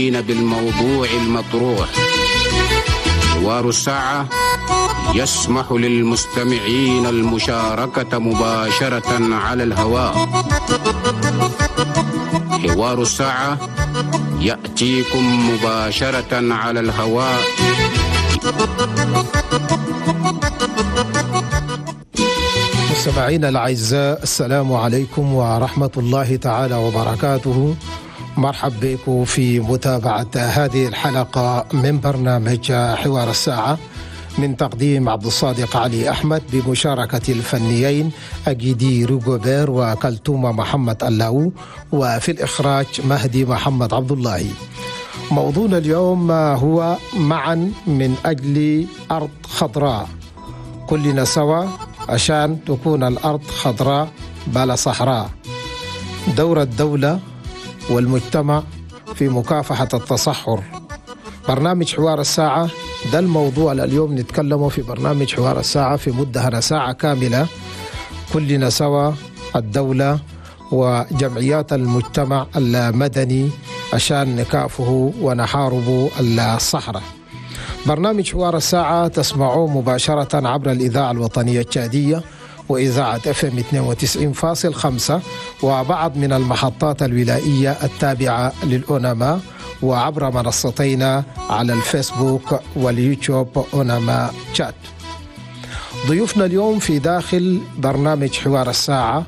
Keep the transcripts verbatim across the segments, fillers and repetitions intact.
بالموضوع المطروح. حوار الساعة يسمح للمستمعين المشاركة مباشرة على الهواء. حوار الساعة يأتيكم مباشرة على الهواء. مستمعينا الأعزاء، السلام عليكم ورحمة الله تعالى وبركاته. مرحب بكم في متابعة هذه الحلقة من برنامج حوار الساعة من تقديم عبد الصادق علي أحمد بمشاركة الفنيين أجيدي روغوبير وكلتومة محمد اللاو، وفي الإخراج مهدي محمد عبد الله. موضوعنا اليوم هو معا من أجل أرض خضراء، كلنا سوا عشان تكون الأرض خضراء بلا صحراء. دور الدولة والمجتمع في مكافحة التصحر. برنامج حوار الساعة ده الموضوع اليوم نتكلمه في برنامج حوار الساعة في مدة ساعة كاملة، كلنا سوا الدولة وجمعيات المجتمع المدني عشان نكافه ونحارب الصحراء. برنامج حوار الساعة تسمعوه مباشرة عبر الإذاعة الوطنية التشادية وإذاعة اف ام اثنين وتسعين فاصل خمسة وبعض من المحطات الولائية التابعة للأونما، وعبر منصتينا على الفيسبوك واليوتيوب أونما تشاد. ضيوفنا اليوم في داخل برنامج حوار الساعة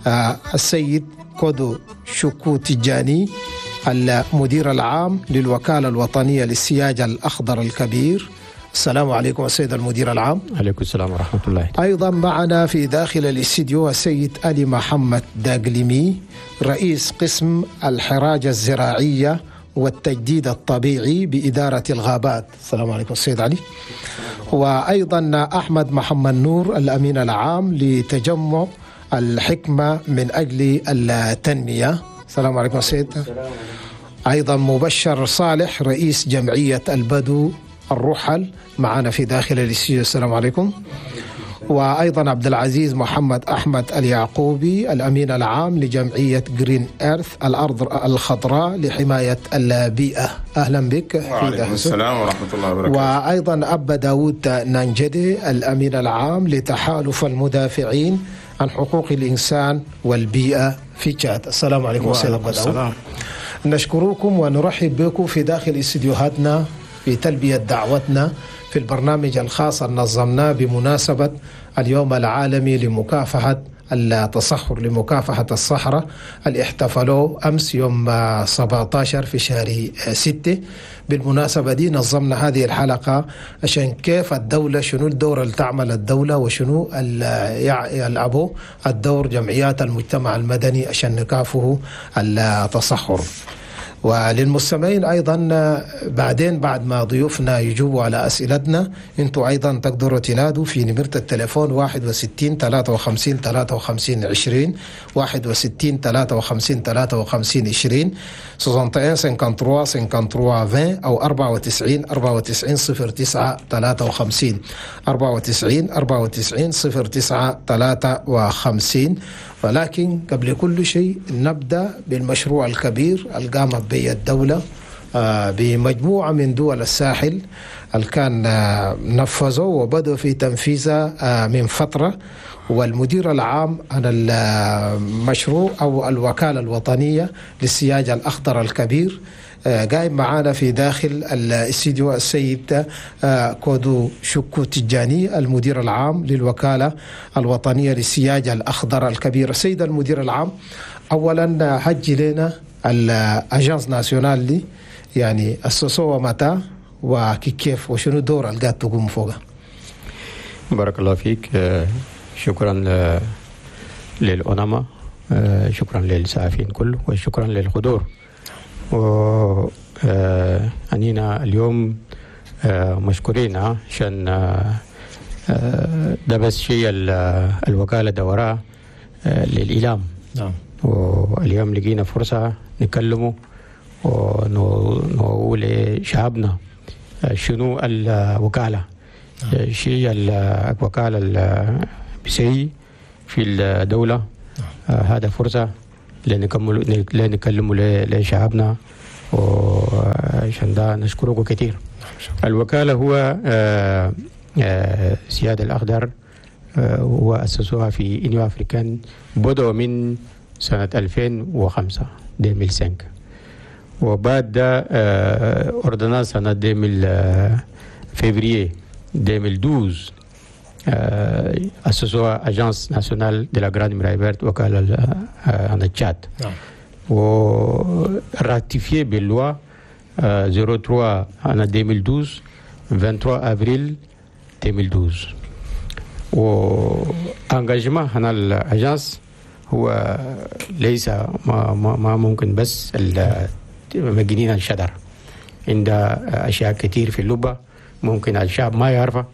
آه السيد كودو شوكو تجاني، المدير العام للوكالة الوطنية للسياج الأخضر الكبير. السلام عليكم السيد المدير العام. عليكم السلام ورحمة الله. أيضا معنا في داخل الاستديو السيد علي محمد داقلمي، رئيس قسم الحراجة الزراعية والتجديد الطبيعي بإدارة الغابات. السلام عليكم السيد علي. وأيضا أحمد محمد نور، الأمين العام لتجمع الحكمة من أجل التنمية. السلام عليكم السيد. أيضا مبشر صالح، رئيس جمعية البدو الرحل، معنا في داخل الاستوديو. السلام عليكم. وأيضا عبد العزيز محمد أحمد اليعقوبي، الأمين العام لجمعية جرين إيرث، الأرض الخضراء لحماية البيئة. أهلا بك. وعليكم السلام ورحمة الله وبركاته. وأيضا أبا داود نانجدي، الأمين العام لتحالف المدافعين عن حقوق الإنسان والبيئة في تشاد. السلام عليكم سيد أبا داود. نشكركم ونرحب بكم في داخل استديوهاتنا في تلبية دعوتنا في البرنامج الخاص اللي نظمناه بمناسبة اليوم العالمي لمكافحة التصحر، لمكافحة الصحراء، اللي احتفلوا أمس يوم سبعة عشر في شهر ستة. بالمناسبة دي نظمنا هذه الحلقة عشان كيف الدولة، شنو الدور اللي تعمل الدولة وشنو يلعبوا الدور جمعيات المجتمع المدني عشان نكافحوا التصحر. وللمستمعين أيضا بعدين بعد ما ضيوفنا يجوبوا على أسئلتنا، أنتوا أيضا تقدروا تنادوا في نمرة التليفون واحد وستين ثلاثة وخمسين ثلاثة وخمسين عشرين، واحد وستين ثلاثة وخمسين ثلاثة وخمسين عشرين، واحد وستين ثلاثة وخمسين ثلاثة وخمسين عشرين، أو أربعة وتسعين أربعة وتسعين صفر تسعة ثلاثة وخمسين، أربعة وتسعين أربعة وتسعين صفر تسعة ثلاثة وخمسين. ولكن قبل كل شيء نبدأ بالمشروع الكبير اللي قامت به الدولة بمجموعة من دول الساحل اللي كان نفذوا وبدأوا في تنفيذه من فترة. والمدير العام عن المشروع أو الوكالة الوطنية للسياج الأخضر الكبير قايم معانا في داخل الاستديو السيد كودو شوكو تجاني، المدير العام للوكالة الوطنية للسياج الأخضر الكبير. السيد المدير العام، أولا حجي لنا ال agence nationale دي يعني أسسوها متى وكيف وشنو الدور اللي قاعد تقوم فوقها؟ بارك الله فيك. شكرا للأونما، شكرا للسعفين كله، وشكرا للحضور. وأنينا اليوم مشكورين عشان ده بس شيء الوكالة دوراه للإعلام. نعم. واليوم لقينا فرصة نكلمه ونقول لشعبنا شنو الوكالة. نعم. شيء الوكالة بسي في الدولة. نعم. هذا فرصة لنكمل لنكلموا لشعبنا. عشان ده نشكركم كثير. الوكالة هو آه آه سيادة الأخضر آه وأسسوها في Union africaine، بدأوا من سنة ألفين وخمسة ألفين وخمسة، وبعد ده آه ordonnance سنة ألفين فبراير ألفين واثنا عشر آه أسسوها Agence nationale de la Grande Muraille Verte، وكالة عن التشاد. نعم. و ratifié بال loi صفر ثلاثة عام ألفين واثنا عشر ثلاثة وعشرين افريل ألفين واثنا عشر. و engagement هنا ال agence هو ليس ما, ما, ما ممكن بس مجنين الشجر، عند اشياء كثير في اللبة ممكن الشعب ما يعرفها،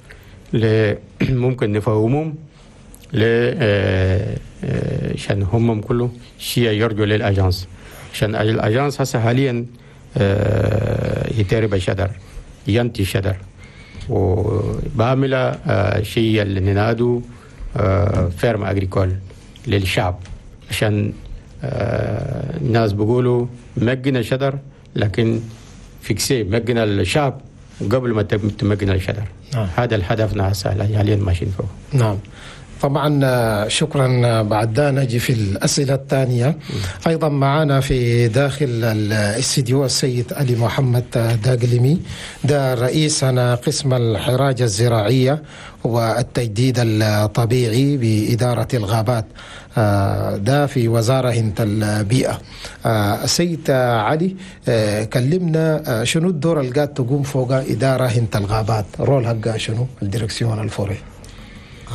ممكن نفهمهم ل عشان هم كله شيء يرجو لل agence، عشان ال agence هسه حاليا يتربى شجر، ينتي شجر، وبعمل شيء اللي ننادو ferme agricole للشعب، عشان الناس بيقولوا مجنا شجر، لكن fixer مجنا الشعب قبل ما تمجنا الشجر. نعم. هذا الهدفنا هسه حاليا ماشيين فوق. نعم طبعا، شكرا. بعد ده نجي في الأسئلة الثانية. أيضا معنا في داخل الاستديو السيد علي محمد داقلمي، ده رئيس أنا قسم الحراجة الزراعية والتجديد الطبيعي بإدارة الغابات، ده في وزارة البيئة. السيد علي، كلمنا شنو الدور اللي قاعد تقوم فوق إدارة هنت الغابات، rôle حقها شنو ال direction ال forêt؟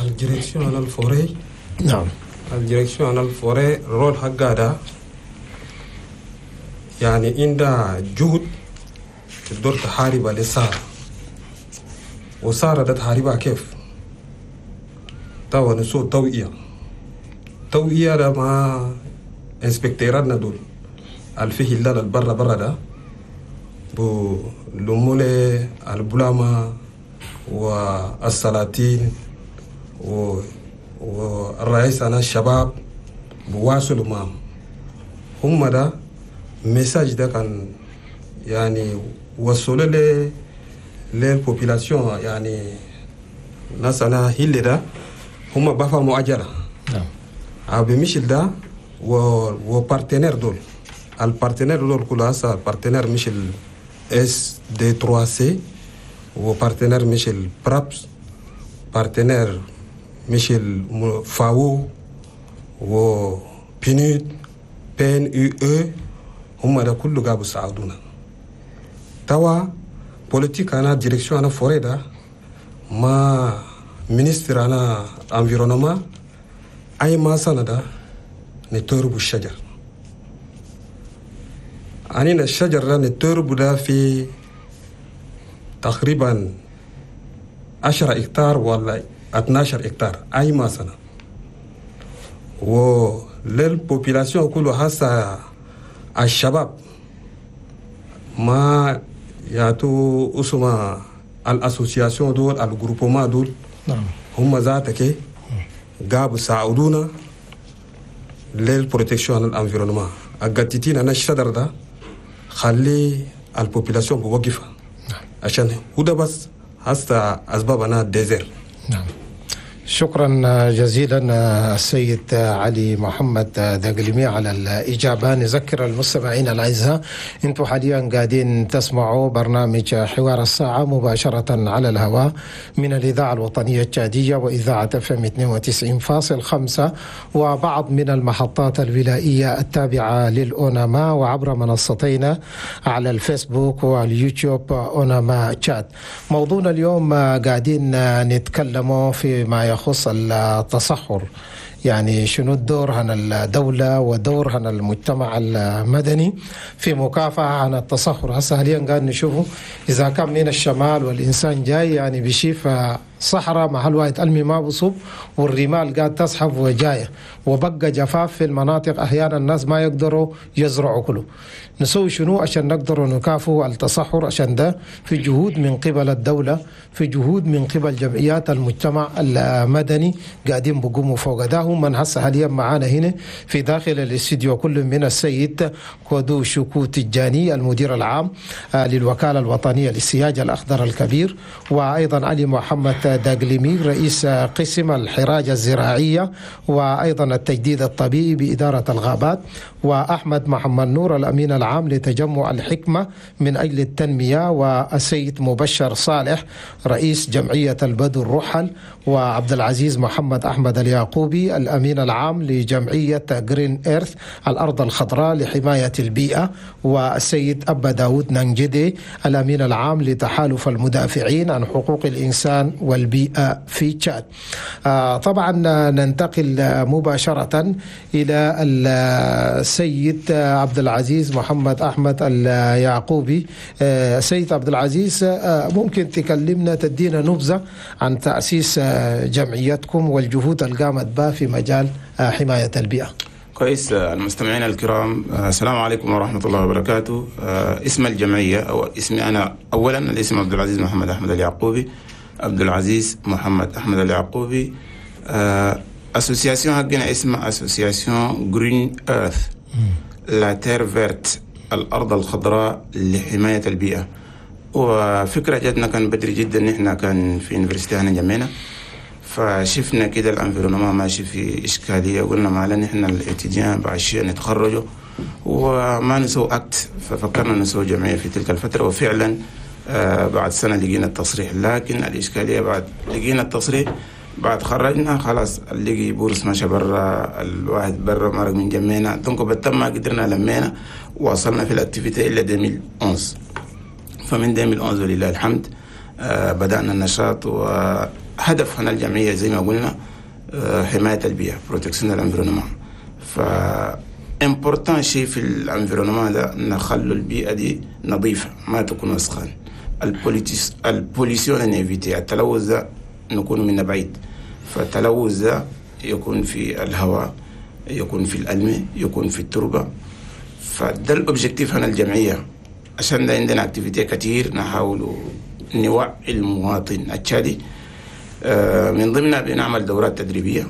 ال direction ال forêt. نعم. ال direction ال forêt rôle حقها ده يعني عندها جهد تقدر تحارب للصحراء، وصحراء ده تحاربها كيف؟ توا نسو توعية، توعية ده مع inspecteur اتنا دول الفيه اللي البرة برا ده بو لمولي البلاما والسلاطين و والرئيس أنا الشباب بواصلوا معهم هم ده message ده كان يعني وصلوا ل لل population، يعني ناس أنا هيل ده هم بفهموا أجرة. نعم. أبي مشيل ده و و partenaires دول، ال partenaires دول كلها هسه partenaire مش ال إس دي ثلاثة سي، و partenaire مش ال PRAPS، partenaire مش الفاو و PNUD PNUE، هم ده كله قابوا ساعدونا. توا politique أنا direction أنا forêt ده ما ministre أنا environnement أي ما سنة ده نتربو الشجر، أنينا الشجر ده نتربو ده في تقريبا عشرة هكتار ولا اثنا عشر هكتار أي ما سنة، ولل population كله هسه الشباب ما ياتو اسمه ال association دول ال groupement دول. نعم. هم ذاتك قابوا ساعدونا لل protection ال environnement. القتيتين انا الشجر ده خلي ال population بوقفها. نعم. عشان هو ده بس هسه اسباب انا désert. نعم. شكرا جزيلا السيد علي محمد دقلمي على الإجابة. نذكر المستمعين الأعزاء أنتم حاليا قاعدين تسمعوا برنامج حوار الساعة مباشرة على الهواء من الإذاعة الوطنية التشادية وإذاعة اف ام اثنين وتسعين فاصل خمسة وبعض من المحطات الولائية التابعة للأوناما، وعبر منصتين على الفيسبوك واليوتيوب أوناما تشاد. موضوعنا اليوم قاعدين نتكلم فيما يخص التصحر، يعني شنو الدور عن الدولة ودور عن المجتمع المدني في مكافحة عن التصحر. هسه حاليا قاعد نشوفه إذا كان من الشمال والإنسان جاي يعني بيشوف صحراء محل واحد المي ما بصب، والرمال قاعد تسحب وجاية، وبقى جفاف في المناطق، أحيانا الناس ما يقدروا يزرعوا كله. نسوي شنو عشان نقدروا نكافئوا التصحر؟ عشان ده في جهود من قبل الدولة، في جهود من قبل جمعيات المجتمع المدني قاعدين بقوموا فوق ده. هم من هسه حاليا معانا هنا في داخل الاستديو كل من السيد كودو شوكو تجاني المدير العام للوكالة الوطنية للسياج الأخضر الكبير، وأيضا علي محمد داقليمي رئيس قسم الحراجة الزراعية وأيضا التجديد الطبيعي بإدارة الغابات، وأحمد محمد نور الأمين العام لتجمع الحكمة من أجل التنمية، والسيد مبشر صالح رئيس جمعية البدو الرحل، وعبد العزيز محمد أحمد اليعقوبي الأمين العام لجمعية Green Earth الأرض الخضراء لحماية البيئة، والسيد أبا داود نانجدي الأمين العام لتحالف المدافعين عن حقوق الإنسان والبيئة في تشاد. آه طبعا ننتقل مباشرة إلى السيد عبد العزيز محمد أحمد اليعقوبي. آه سيد عبد العزيز، آه ممكن تكلمنا تدينا نبذة عن تأسيس جمعيتكم والجهود اللي قامت بها في مجال حماية البيئة؟ كويس. المستمعين الكرام، السلام عليكم ورحمة الله وبركاته. اسم الجمعية أو اسمي أنا أولا، الاسم عبد العزيز محمد أحمد اليعقوبي. عبد العزيز محمد أحمد اليعقوبي. association حقنا اسمها association Green Earth، la terre verte، الأرض الخضراء لحماية البيئة. وفكرة جاتنا كان بدري جدا، نحن كان في université هنا جمعنا، فشفنا كده ال environnement ماشي في إشكالية، قلنا ما لنا نحن ال étudiants بعد شيء نتخرجوا وما نسوي acte، ففكرنا نسوي جمعية في تلك الفترة. وفعلا آه بعد سنة لقينا التصريح، لكن الإشكالية بعد لقينا التصريح بعد خرجنا خلاص اللي bourse ماشي برا، الواحد برا مرق من جمعنا، donc بالتم ما قدرنا لمينا وصلنا في ال activité إلى ألفين وأحد عشر. فمن ألفين وأحد عشر ولله الحمد آه بدأنا النشاط. وهدف هنا الجمعية زي ما قلنا آه حماية البيئة، protection ال environnement. ف important شيء في ال environnement ده نخلو البيئة دي نظيفة، ما تكون وسخان، ال pollution ن éviter، التلوث ده نكون منه بعيد. فالتلوث ده يكون في الهواء، يكون في الألمة، يكون في التربة. فده ال objectif هنا الجمعية. عشان ده عندنا activités كتير نحاول نوعي المواطن التشادي. من ضمنها بنعمل دورات تدريبية،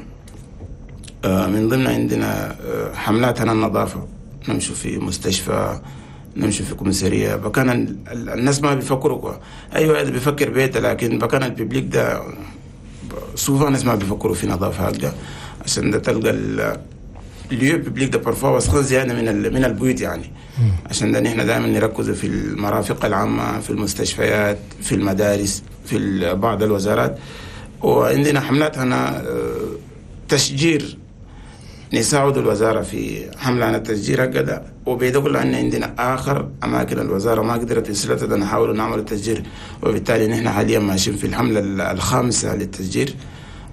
من ضمنها عندنا حملات هنا النظافة، نمشي في مستشفى، نمشي في commissariat. بكان الناس ما بيفكروا، أيوة هذا بيفكر بيته، لكن بكان ال public ده souvent الناس ما بيفكروا في نظافة هكذا. عشان ده تلقى ال lieux publics ده parfois وسخان زيادة من من البيوت يعني. عشان ده نحن دائما نركز في المرافق العامة، في المستشفيات، في المدارس، في بعض الوزارات. وعندنا حملات هنا تشجير، نساعد الوزارة في حملة عن التشجير هكذا. وبيدل أن عندنا آخر أماكن الوزارة ما قدرت تسلطها نحاول نعمل التشجير، وبالتالي نحن حاليا ماشيين في الحملة الخامسة للتشجير.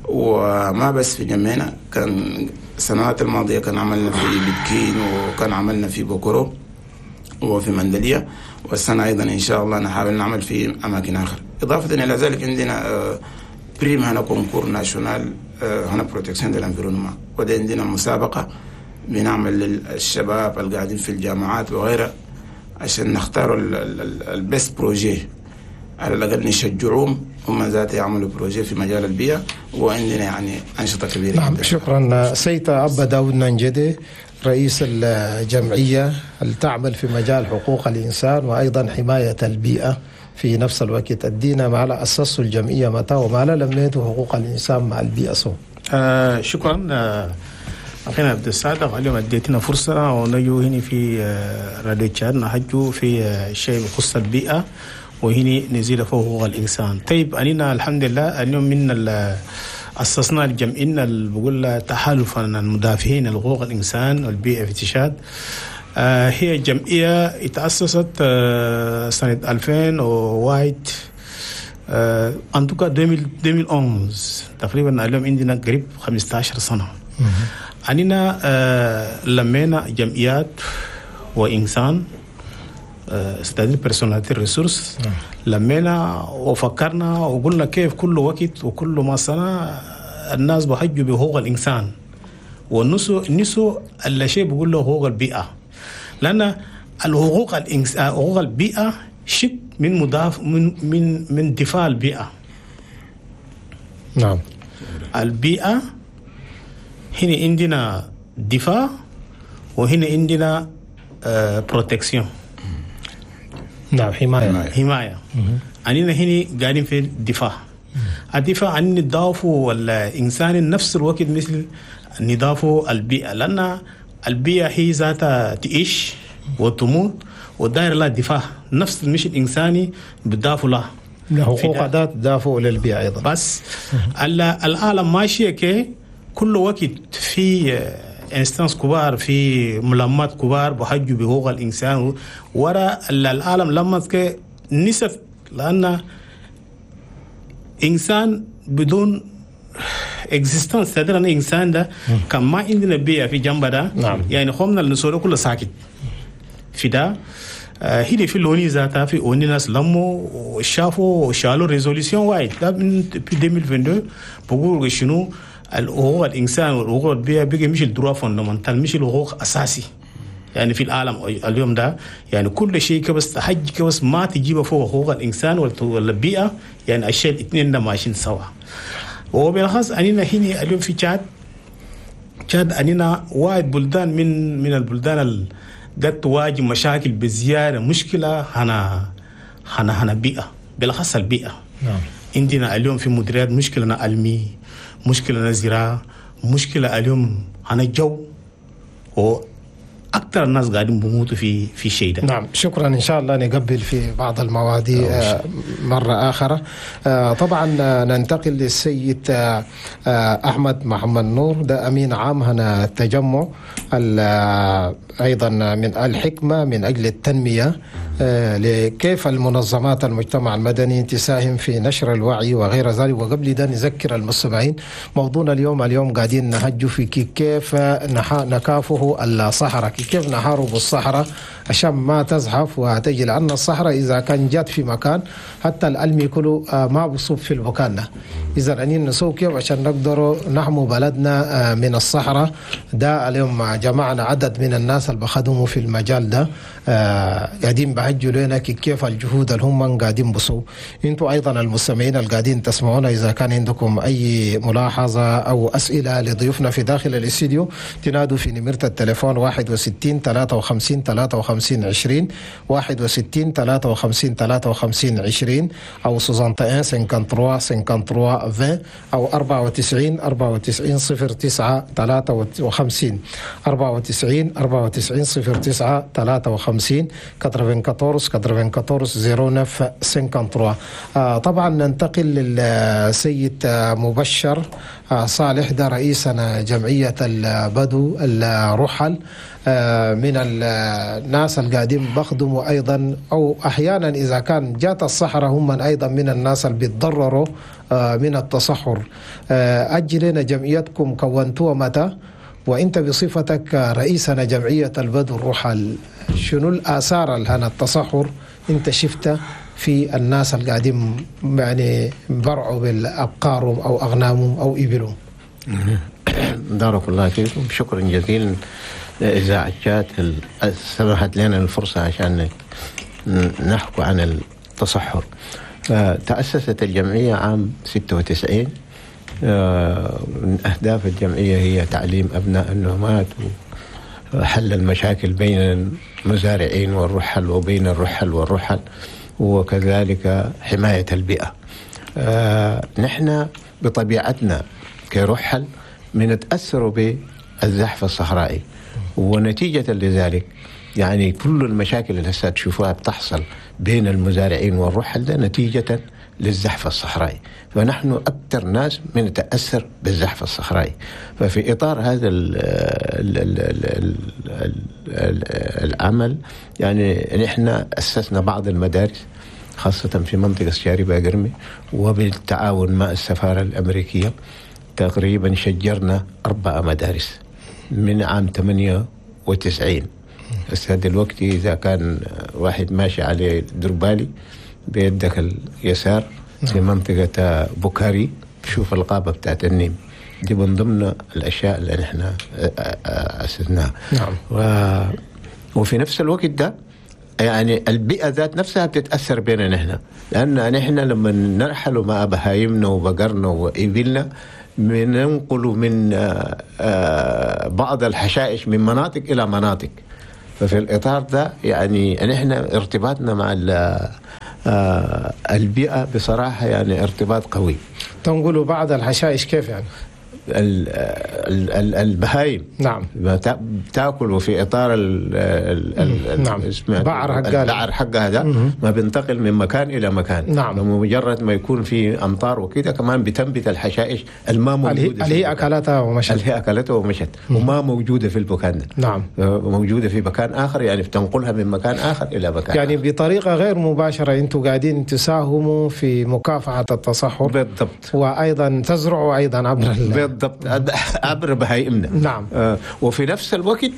وما بس في جمعنا، كان السنوات الماضية كان عملنا في بكين، وكان عملنا في بوكورو وفي مندلية، والسنة أيضا إن شاء الله نحاول نعمل في أماكن آخر. إضافة إلى ذلك عندنا prime هنا concours national هنا protection de l'environnement، وده عندنا مسابقة بنعمل للشباب القاعدين في الجامعات وغيرها عشان نختاروا ال best projet، على الأقل نشجعوهم هم ذات يعملوا projet في مجال البيئة. وعندنا يعني أنشطة كبيرة. نعم، شكرا سيد أبا داود نانجدي رئيس الجمعية اللي تعمل في مجال حقوق الإنسان وأيضا حماية البيئة في نفس الوقت. أدينا ما على أسس الجمعية متى وما على لميته حقوق الإنسان مع البيئة سو. آه شكرا آه أخينا عبد الصادق، اليوم أديتنا فرصة ونجو هنا في آه راديو تشاد نحجو في آه شيء بخص البيئة وهنا نزيد فوق حقوق الإنسان. طيب أننا الحمد لله اليوم من أسسنا الجمعية اللي بقول تحالف المدافعين لحقوق الإنسان والبيئة في تشاد. آه هي جمعية اتأسست آه سنة ألفين وواحد، en tout cas ألفين وأحد عشر تقريبا. اليوم عندنا قريب خمسة عشر سنة. أننا آه لمينا جمعيات وإنسان c'est-à-dire personnalité ressource. لمينا وفكرنا وقلنا كيف كل وقت وكل ما سنة الناس بحجوا بحقوق الانسان ونسوا نسوا الشيء بيقول له حقوق البيئة، لان الحقوق الإنس... حقوق البيئة شق من مضاف من من من دفاع البيئة. نعم، البيئة هنا عندنا دفاع وهنا عندنا protection. نعم، حماية. حماية. أننا هنا قاعدين في الدفاع. الدفاع عن نضافه الإنسان نفس الوقت مثل نضافه البيئة، لأن البيئة هي ذاتها تعيش وتموت وداير لها دفاع، نفس المش الإنساني بتضافوا لها حقوق ذات تدافع للبيئة أيضا. بس العالم ماشية كي كل وقت في instances كبار، في ملمات كبار بحجوا بحقوق الإنسان ورا العالم لما نسف، لأن إنسان بدون existence تدري أن إنسان ده كان ما عندنا بيئة في جنب ده. نعم. يعني خمنا النسوة كله ساكت في ده. هنا في l'ONU ذاتها في ONU ناس لموا وشافوا وشالوا résolution واحد ده من في ألفين واثنين وعشرين بقولوا شنو الحقوق الإنسان والحقوق البيئة بقى مش ال droit fondamental، مش الحقوق أساسي يعني في العالم اليوم ده. يعني كل شيء كبس حج كبس ما تجيبه فوق حقوق الإنسان والبيئة، يعني الشيء الاثنين ده ماشيين سوا. وبالخاص أننا هنا اليوم في تشاد، تشاد أننا واحد بلدان من من البلدان اللي قد تواجه مشاكل بزيادة، مشكلة هنا هنا هنا بيئة، بالخاص البيئة. نعم. عندنا اليوم في مديريات مشكلة علمي، مشكلة زراعة، مشكلة اليوم هنا الجو، وأكثر الناس قاعدين بموتوا في في شيء ده. نعم، شكرا. إن شاء الله نقبل في بعض المواضيع مرة آخرى. طبعا ننتقل للسيد أحمد محمد نور، ده أمين عام هنا التجمع أيضا من الحكمة من أجل التنمية، لكيف المنظمات المجتمع المدني تساهم في نشر الوعي وغير ذلك. وقبل ده نذكر المستمعين موضوعنا اليوم، اليوم قاعدين نهجوا في كيف نكافه الصحراء، كيف نحارب الصحراء عشان ما تزحف وتجي، لأن الصحراء إذا كان جات في مكان حتى الألمي كله ما بصب في المكان ده. إذا أنين نسوي كيف عشان نقدر نحمو بلدنا من الصحراء ده. اليوم جمعنا عدد من الناس اللي بخدموا في المجال ده، قاعدين بحجوا لنا كيف الجهود اللي هم قاعدين بصوا. انتوا أيضا المستمعين اللي قاعدين تسمعونا، إذا كان عندكم أي ملاحظة أو أسئلة لضيوفنا في داخل الاستديو تنادوا في نمرة التليفون واحد وستين ثلاثة وخمسين ثلاثة وخمسين عشرين، واحد وستين ثلاثة وخمسين ثلاثة وخمسين عشرين، أو واحد وستين ثلاثة وخمسين ثلاثة وخمسين عشرين، أو أربعة وتسعين أربعة وتسعين صفر تسعة ثلاثة وخمسين، أربعة وتسعين أربعة وتسعين صفر تسعة ثلاثة وخمسين، أربعة وتسعين أربعة وتسعين صفر تسعة ثلاثة وخمسين. طبعا ننتقل للسيد مبشر صالح، ده رئيسنا جمعية البدو الرحل، من الناس القاعدين بخدموا أيضا، أو أحيانا إذا كان جات الصحراء هم أيضا من الناس اللي بيتضرروا من التصحر. أجلنا جمعيتكم كونتوها متى؟ وإنت بصفتك رئيسنا جمعية البدو الرحل، شنو الآثار اللي هنا التصحر أنت شفتها في الناس اللي قاعدين يعني برعوا بالأبقارهم أو أغنامهم أو إبلهم؟ بارك الله فيكم، شكرا جزيلا لإذاعة شات سمحت لنا الفرصة عشان نحكي عن التصحر. تأسست الجمعية عام ستة وتسعين. من أهداف الجمعية هي تعليم أبناء النومات وحل المشاكل بين المزارعين والرحل وبين الرحل والرحل، وكذلك حماية البيئة. نحن بطبيعتنا كرحل بنتأثر بالزحف الصحرائي، ونتيجة لذلك يعني كل المشاكل اللي هسه تشوفوها بتحصل بين المزارعين والرحل ده نتيجة للزحف الصحرائي. فنحن أكثر ناس بنتأثر بالزحف الصحرائي. ففي إطار هذا ال ال ال ال ال العمل يعني نحن أسسنا بعض المدارس خاصة في منطقة شاربة قرمي، وبالتعاون مع السفارة الأمريكية تقريبا شجرنا أربع مدارس من عام ثمانية وتسعين. بس دلوقتي إذا كان واحد ماشي على دربالي بيدك اليسار في منطقة بوكاري بشوف الغابة بتاعت النيم دي، من ضمن الأشياء اللي نحن أسسناها. نعم. و... وفي نفس الوقت ده يعني البيئة ذات نفسها بتتأثر بينا نحن، لأن نحن لما نرحل مع بهايمنا وبقرنا وإبلنا بننقل من بعض الحشائش من مناطق إلى مناطق. ففي الإطار ده يعني نحن ارتباطنا مع البيئة بصراحة يعني ارتباط قوي. تنقلوا بعض الحشائش كيف يعني؟ ال ال البهايم. نعم. بتاكل في اطار ال ال نعم. البعر حقها البعر حقها ده ما بينتقل من مكان الى مكان. نعم. بمجرد ما يكون في امطار وكده كمان بتنبت الحشائش الما موجودة اللي هي اكلتها ومشت، اللي هي اكلتها ومشت وما موجودة في المكان ده. نعم. موجودة في مكان اخر، يعني بتنقلها من مكان اخر الى مكان يعني آخر. بطريقة غير مباشرة انتم قاعدين تساهموا في مكافحة التصحر. بالضبط. وايضا تزرعوا ايضا عبر بالضبط عبر بهايمنا. نعم. آه وفي نفس الوقت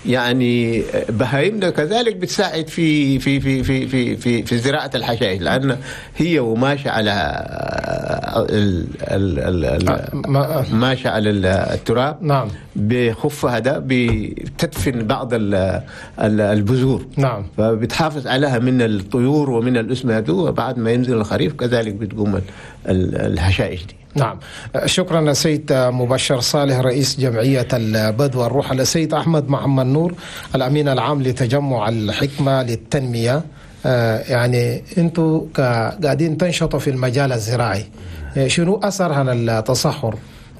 يعني بهايمنا كذلك بتساعد في في في في في في, في زراعة الحشائش، لأن هي وماشية على ال ال ال ماشية على التراب. نعم. بخفها ده بتدفن بعض البذور. نعم. فبتحافظ عليها من الطيور ومن الأسماك، وبعد ما ينزل الخريف كذلك بتقوم الحشائش دي. نعم. شكرا السيد مبشر صالح رئيس جمعية البدو الرحل، السيد أحمد محمد نور الأمين العام لتجمع الحكمة للتنمية. آه يعني أنتوا قاعدين تنشطوا في المجال الزراعي، شنو أثر هنا التصحر؟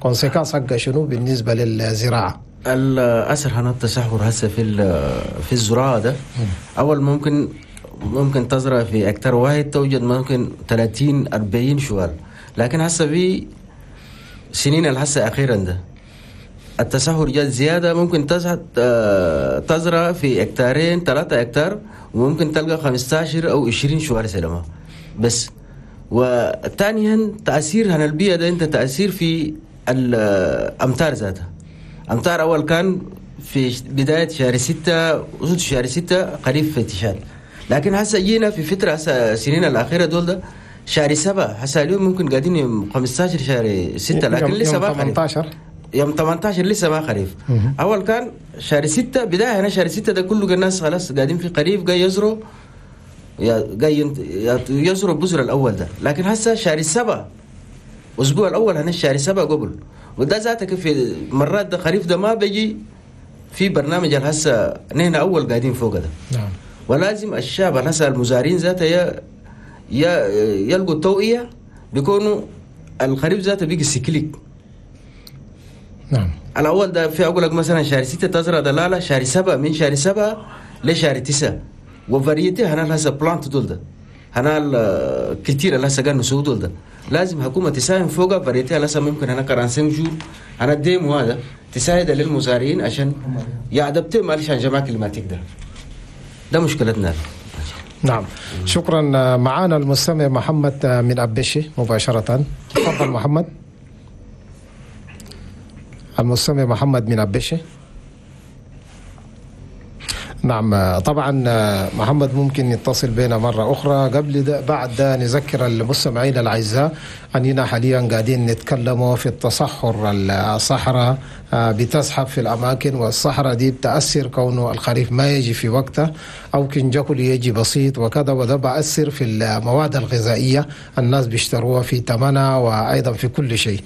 conséquences حقه شنو بالنسبة للزراعة؟ الأثر هنا التصحر هسه في في الزراعة ده، أول ممكن ممكن تزرع في هكتار واحد توجد ممكن ثلاثين أربعين شوال، لكن هسه في سنين الهسه أخيرا ده التسهر جات زيادة، ممكن تزرع في هكتارين ثلاثة هكتار وممكن تلقى خمستاشر أو عشرين شوال سلامة بس. وثانيا تأثير هنا البيئة ده أنت تأثير في الأمطار ذاتها. أمطار أول كان في بداية شهر ستة وسط شهر ستة قريب في تشاد، لكن هسه جينا في فترة هسه سنين الأخيرة دول ده شهر سبعة، هسه اليوم ممكن قاعدين يوم خمستاشر شهر ستة، لكن لسه ما خريف. ثمانية عشر يوم ثمانية عشر لسه ما خريف. أول كان شهر ستة بداية هنا شهر ستة ده كله الناس خلاص قاعدين في خريف، جاي يزروا جاي يزروا البذر الأول ده، لكن هسه شهر سبعة الأسبوع الأول هنا شهر سبعة قبل، وده ذاتك في مرات ده خريف ده ما بيجي في برنامج هسه نحن أول قاعدين فوق ده. نعم. ولازم الشعب هسه المزارعين ذاته يا يلقوا التوعية بيكونوا الخريف ذاته بيجي cyclique. نعم. الأول ده في أقول لك مثلا شهر ستة تزرع دلالة، شهر سبعة من شهر سبعة لشهر تسعة، و variété هنا هسه plante دول ده هنا كتير اللي هسه قالوا نسوي دول ده لازم حكومة تساهم فوقها variété هسه ممكن هنا quarante-cinq jours هنا deux mois هذا تساعد للمزارعين عشان ي adapter مع changement climatique ده ده مشكلتنا. نعم. شكرا. معنا المستمع محمد من أبشي مباشرة. تفضل محمد. المستمع محمد من أبشي. نعم. طبعا محمد ممكن يتصل بنا مرة أخرى. قبل ده بعد ده نذكر المستمعين الأعزاء أننا حاليا قاعدين نتكلموا في التصحر. الصحراء بتزحف في الأماكن، والصحراء دي بتأثر كونه الخريف ما يجي في وقته أو كن جاكل يجي بسيط وكذا، وده بأثر في المواد الغذائية الناس بيشتروها في ثمنها وأيضا في كل شيء.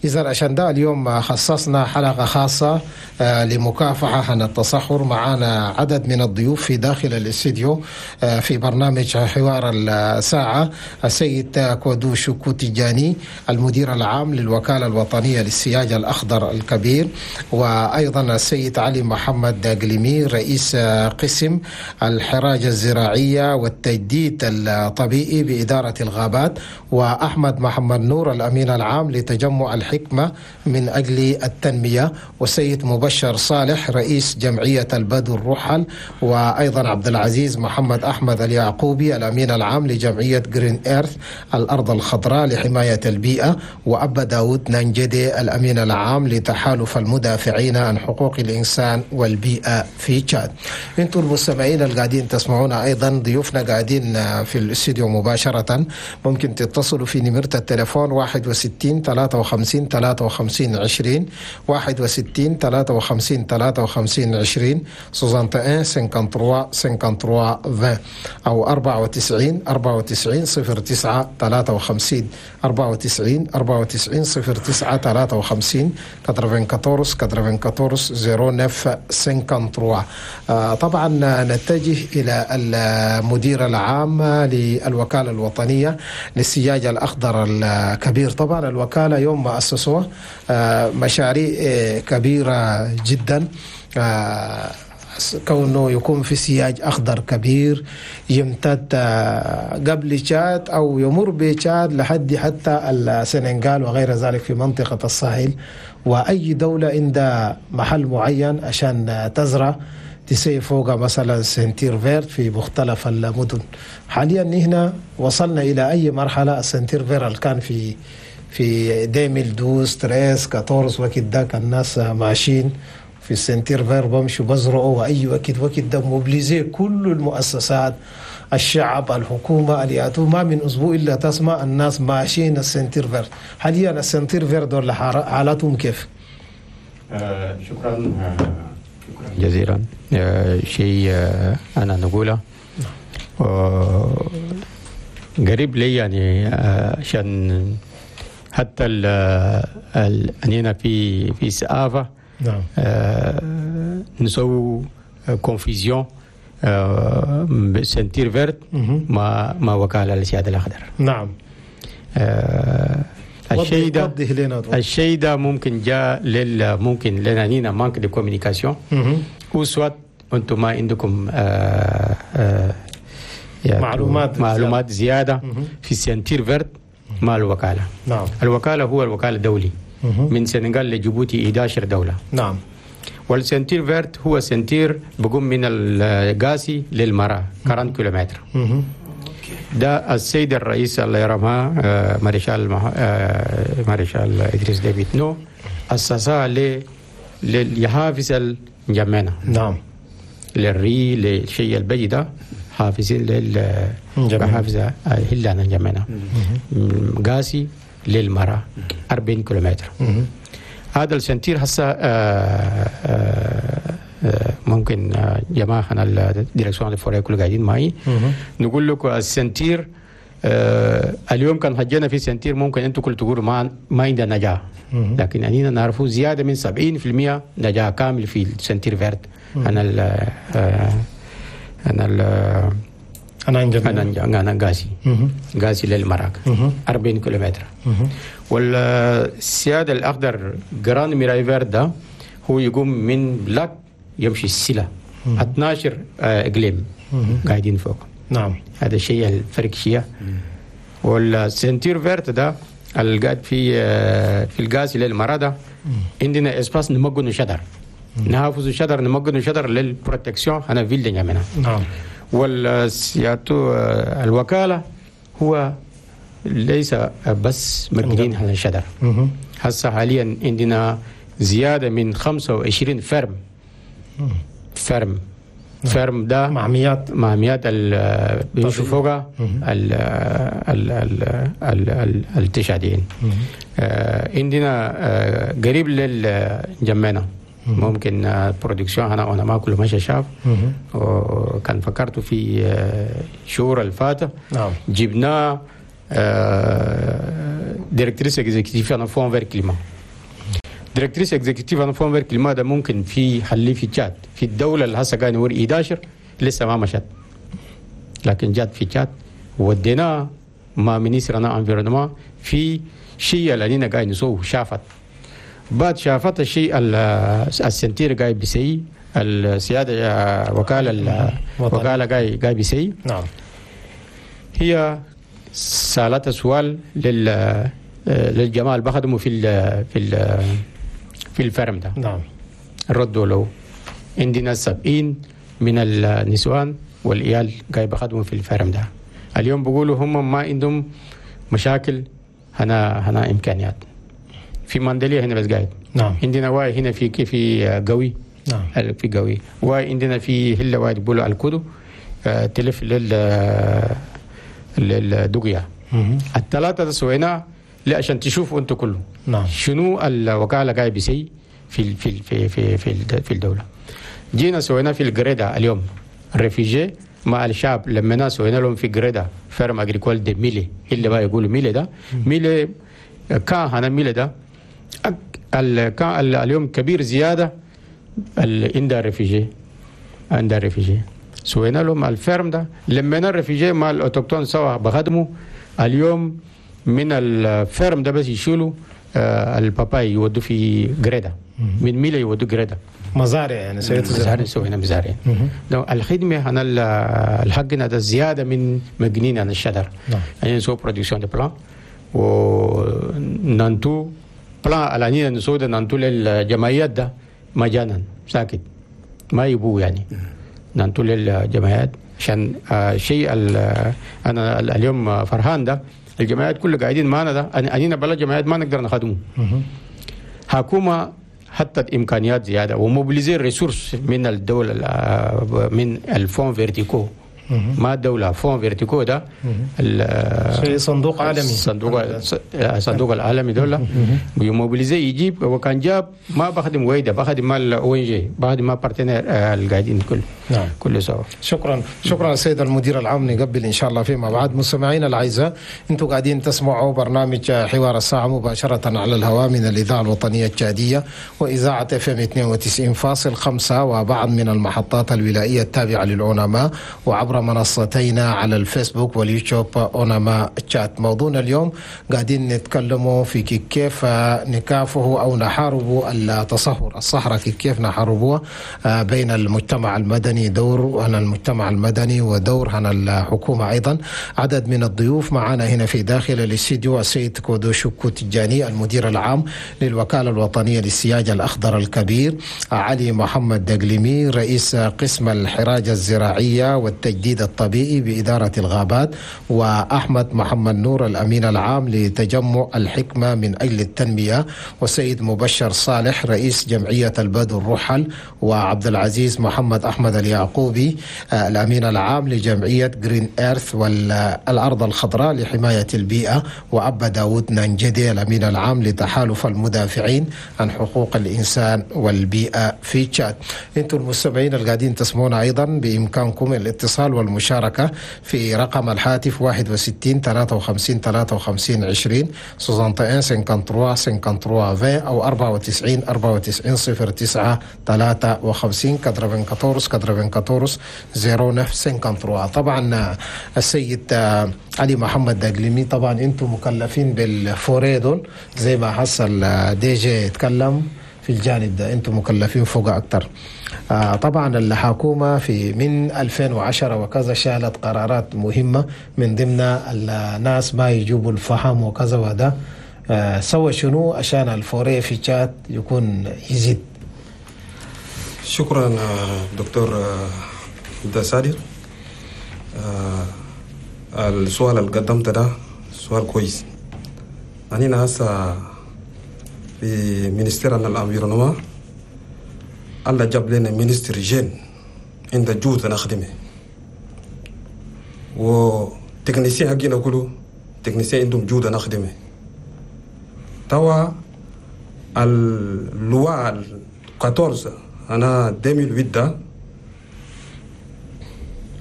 إذا عشان ده اليوم خصصنا حلقة خاصة لمكافحة عن التصحر. معنا عدد من الضيوف في داخل الاستديو في برنامج حوار الساعة: السيد كودو شوكو تيجاني المدير العام للوكالة الوطنية للسياج الأخضر الكبير، وأيضا السيد علي محمد قليمي رئيس قسم الحراج الزراعية والتجديد الطبيعي بإدارة الغابات، وأحمد محمد نور الأمين العام لتجمع الحكمة من أجل التنمية، والسيد مبشر صالح رئيس جمعية البدو الرحل. وأيضا عبد العزيز محمد أحمد اليعقوبي الأمين العام لجمعية Green Earth الأرض الخضراء لحماية البيئة، وأبا داود نانجدي الأمين العام لتحالف المدافعين عن حقوق الإنسان والبيئة في تشاد. انتم المستمعين القاعدين تسمعونا، أيضا ضيوفنا قاعدين في الاستديو مباشرة، ممكن تتصلوا في نمرة التليفون واحد وستين ثلاثة وخمسين ثلاثة وخمسين عشرين، واحد وستين ثلاثة وخمسين ثلاثة وخمسين عشرين، soixante et un cinquante-trois cinquante-trois vingt، أو أربعة وتسعين أربعة وتسعين صفر تسعة ثلاثة وخمسين، أربعة وتسعين أربعة وتسعين صفر تسعة ثلاثة وخمسين، quatre-vingt-quatorze quatre-vingt-quatorze zéro neuf cinquante-trois. طبعا نتجه إلى المدير العام للوكالة الوطنية للسياج الأخضر الكبير. طبعا الوكالة يوم ما أسسوها مشاريع كبيرة جدا، كونه يكون في سياج أخضر كبير يمتد قبل تشاد أو يمر بتشاد لحد حتى السنغال وغير ذلك في منطقة الساحل، وأي دولة عندها محل معين عشان تزرع تسي فوق مثلا ceinture verte في مختلف المدن. حاليا هنا وصلنا إلى أي مرحلة؟ ال ceinture verte اللي كان في في deux mille douze treize quatorze وقت ده الناس ماشيين في ال ceinture verte بمشوا بزرعوا، وأي وقت وقت ده mobiliser كل المؤسسات، الشعب، الحكومة، الياتو، ما من أسبوع إلا تسمع الناس ماشيين ال ceinture verte. حاليا ال ceinture verte دول حالاتهم كيف؟ آه شكرا آه شكرا جزيلا. آه شيء آه أنا نقوله آه قريب لي يعني عشان آه حتى أننا في في سقافة نعم آه نسوي confusion آه ceinture verte مع مع وكالة للسياج الأخضر. نعم آه الشيء ده الشيء ده ممكن جاء لل ممكن لنا نينا manque de communication ou soit انتم ما عندكم آه آه يعني معلومات معلومات زيادة في ceinture verte مع الوكالة. نعم الوكالة هو الوكالة الدولي من سنغال لجيبوتي إحدى عشرة دولة. نعم وال ceinture verte هو ceinture بقوم من القاسي للمرا أربعين كيلومتر. ده السيد الرئيس الله يرحمه مارشال مارشال إدريس ديبي إتنو أسسها ليحافظ الجمانة. نعم للري للشيء البجي ده حافظين لل حافظة هلانا الجمانة قاسي للمرا أربعين كيلومتر. هذا ال ceinture هسه ممكن جماعة ال direction des forêts كل قاعدين معي نقول لكم ال ceinture اليوم كان حجينا في ceinture ممكن انتم كل تقولوا ما ما عندنا نجاة، لكن اننا نعرفوا زيادة من سبعين بالمئة نجاة كامل في ال ceinture verte. انا ال انا ال انا انا انا قاسي قاسي للمراك أربعين كيلومتر. والسيادة الأخضر Grande Muraille Verte ده هو يقوم من بلاك يمشي السلة اثنا عشر إقليم قاعدين فوق. نعم هذا الشيء الفرق شيء. وال ceinture verte ده القاعد في في القاسي للمرا ده عندنا espace نمجن شجر، نحافظ شجر، نمجن شجر لل protection انا ville نعملها. نعم والسياتو الوكالة هو ليس بس مجنين على الشجر. هسه حاليا عندنا زيادة من خمسة وعشرين ferme ferme ferme ده معميات معميات بيمشوا فوقها التشاديين. عندنا قريب للجمانة ممكن production انا انا ما كل ماشي شاف وكان فكرت في شهور الفاتة. نعم جبنا directrice exécutive انا Fonds Vert Climat. directrice exécutive انا Fonds Vert Climat ده ممكن في حلي في تشاد في الدولة اللي هسه قاعد نقول إحدى عشر لسه ما مشت، لكن جات في تشاد وديناه مع ministre انا environnement في شيء اللي قاعد نسوه. شافت بعد شافت الشيء ال ceinture قاعد بيسي السيادة وكالة وكالة قاعد قاعد بيسي. نعم هي سالت سؤال لل للجماعة اللي بخدموا في ال في ال في ال ferme ده. نعم ردوا له عندنا سبعين من النسوان والعيال قاعد بخدموا في ال ferme ده. اليوم بيقولوا هم ما عندهم مشاكل هنا هنا امكانيات في ماندليا هنا بس قاعد. نعم. عندنا واي هنا في في قوي. نعم. في قوي واي عندنا في هلا واي بيقولوا الكودو آه تلف لل للدقيا. الثلاثة ده سويناه عشان تشوفوا انتم كله. نعم. شنو الوكالة قاعد بيسي في في في في في, في الدولة. جينا سوينا في الجريدة اليوم réfugiés مع الشعب لما ناس سوينا لهم في جريدة ferme agricole de ميلي اللي بقى يقولوا ميلي ده ميلي كان هنا ميلي ده كان اليوم كبير زيادة عند réfugiés عند réfugiés سوينا لهم ال ferme ده لما ال réfugiés مع ال autochtones سوا بخدموا اليوم من ال ferme ده بس يشيلوا الباباي يودوا في جريدة من ميلي يودوا جريدة مزارع يعني مزارع سوينا مزارع. الخدمة هنا الحقنا ده زيادة من مجنين عن الشجر. نعم. يعني نسوي production de plants وننتو plants على نسوي ده ننتو للجمعيات ده مجانا ساكت ما يبو يعني ننتو للجمعيات عشان شيء انا اليوم فرحان ده الجمعيات كلها قاعدين معنا ده انينا بلا جمعيات ما نقدر نخدمه. حكومة حتى امكانيات زيادة و mobiliser ressources من الدولة من ال fonds verticaux ما الدولة fonds verticaux ده صندوق عالمي صندوق صندوق العالمي دولة بي mobiliser يجيب وكان جاب ما بخدم ويدا بخدم مال ONG بخدم ما partenaires القاعدين كل. نعم. كل سوا. شكرا شكرا السيد المدير العام. نقبل ان شاء الله فيما بعد. مستمعينا الاعزاء انتم قاعدين تسمعوا برنامج حوار الساعة مباشرة على الهواء من الاذاعة الوطنية التشاديه واذاعة اف ام اثنين وتسعين فاصل خمسة وبعض من المحطات الولائيه التابعة للعلماء وعبر منصتينا على الفيسبوك واليوتيوب أوناما تشات. موضوعنا اليوم قاعدين نتكلموا في كيف نكافه أو نحارب التصهر الصحراء، كيف نحاربوها بين المجتمع المدني، دور هنا المجتمع المدني ودور هنا الحكومة أيضا. عدد من الضيوف معنا هنا في داخل الاستديو السيد كودو شوكو تجاني المدير العام للوكالة الوطنية للسياج الأخضر الكبير، علي محمد دقليمي رئيس قسم الحراجة الزراعية والتجديد الطبيعي بإدارة الغابات، وأحمد محمد نور الأمين العام لتجمع الحكمة من أجل التنمية، والسيد مبشر صالح رئيس جمعية البدو الرحل، وعبد العزيز محمد أحمد اليعقوبي الأمين العام لجمعية جرين إيرث والأرض الخضراء لحماية البيئة، وأبا داود نانجدي الأمين العام لتحالف المدافعين عن حقوق الإنسان والبيئة في تشاد. أنتم المستمعين القاعدين تسمعونا أيضا بإمكانكم الاتصال والمشاركة في رقم الهاتف واحد وستين ثلاثة وخمسين ثلاثة وخمسين عشرين واحد وستين ثلاثة وخمسين ثلاثة وخمسين أو أربعة وتسعين أربعة وتسعين صفر تسعة ثلاثة وخمسين أربعة أربعة صفر تسعة خمسة. طبعا السيد علي محمد دقليمي، طبعا انتم مكلفين بال forêt دول زي ما حصل DG يتكلم في الجانب ده، انتم مكلفين فوق اكتر. آه طبعا الحكومة في من ألفين وعشرة وكذا شالت قرارات مهمة من ضمن الناس ما يجيبوا الفحم وكذا وهذا، آه سوى شنو عشان ال forêt في تشاد يكون يزيد؟ شكرا دكتور عبد الصادق. السؤال اللي قدمته ده سؤال كويس. أنا هسه في ministère ال environnement الله جاب لنا ministre jeune عند جهد نخدمه و techniciens حقنا كله techniciens عندهم جهد نخدمه. توا ال loi أربعة عشر أنا ألفين وثمانية ده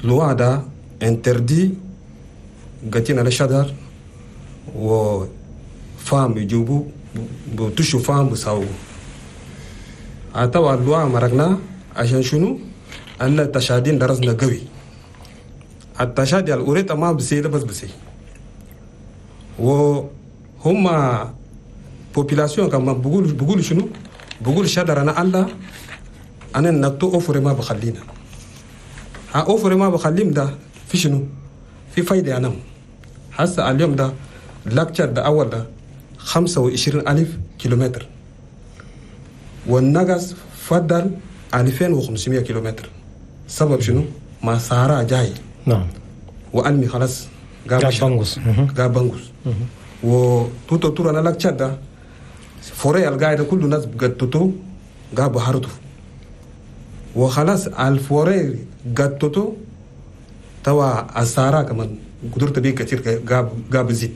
loi ده interdit قتينا الشجر و فام يجيبوا بتشو فام بساو أتوا ال loi مرقنا عشان شنو؟ أن التشادين درسنا قوي التشادي الأوريتا ما بسي بس بسي وهم population كما بقول بقول شنو؟ بقول شجر أنا الله أنا نتو أوفر ما بخلينا ها أوفر ما بخليهم ده في شنو؟ في فايدة أنا هسه اليوم ده lac Tchad ده أول ده خمسة وعشرين ألف كيلومتر والنقص فضل ألفين وخمسمية كيلومتر. سبب شنو؟ ما صحراء جاي. نعم. وألمي خلاص قاب بنغوس. قاب بنغوس. وتوتو تورا أنا لك تشاد forêt القاعدة كل الناس قدتو قابوا هرتو وخلاص ال forêt قدتو توا الصحراء كمان قدرت بيه كتير قاب قاب زيت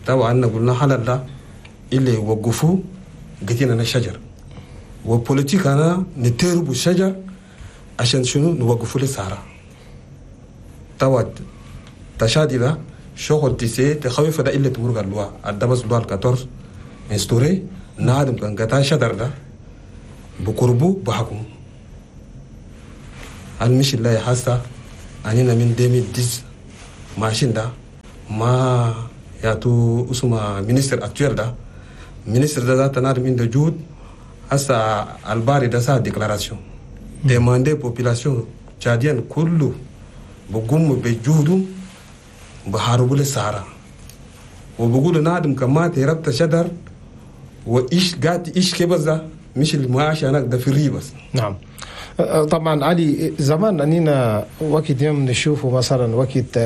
توا أن قلنا حلال لا اللي وقفوا قتينا الشجر و politique أنا نتربو الشجر عشان شنو نوقفوا للصحراء توا تشادي ده شغل تسي تخوف ده إلا تمرق اللواء الدبس اللواء الكاتورز instauré نادم كان قطع شجر ده بقربو بحكم المش الله حاسة أننا من ديمي ديز ماشين ده ما ياتو اسمه ministre actuel ده ministre ده ذات نادم عنده جهد هسا الباري ده سا déclaration demander population tchadienne كله بقوم بجهده بحاربوا للصحراء وبقولوا نادم كما تربت شجر وإيش قات إيش كبزة مش المعاش هناك ده في بس. نعم طبعا علي زمان أننا وقت يوم نشوفه مثلا وقت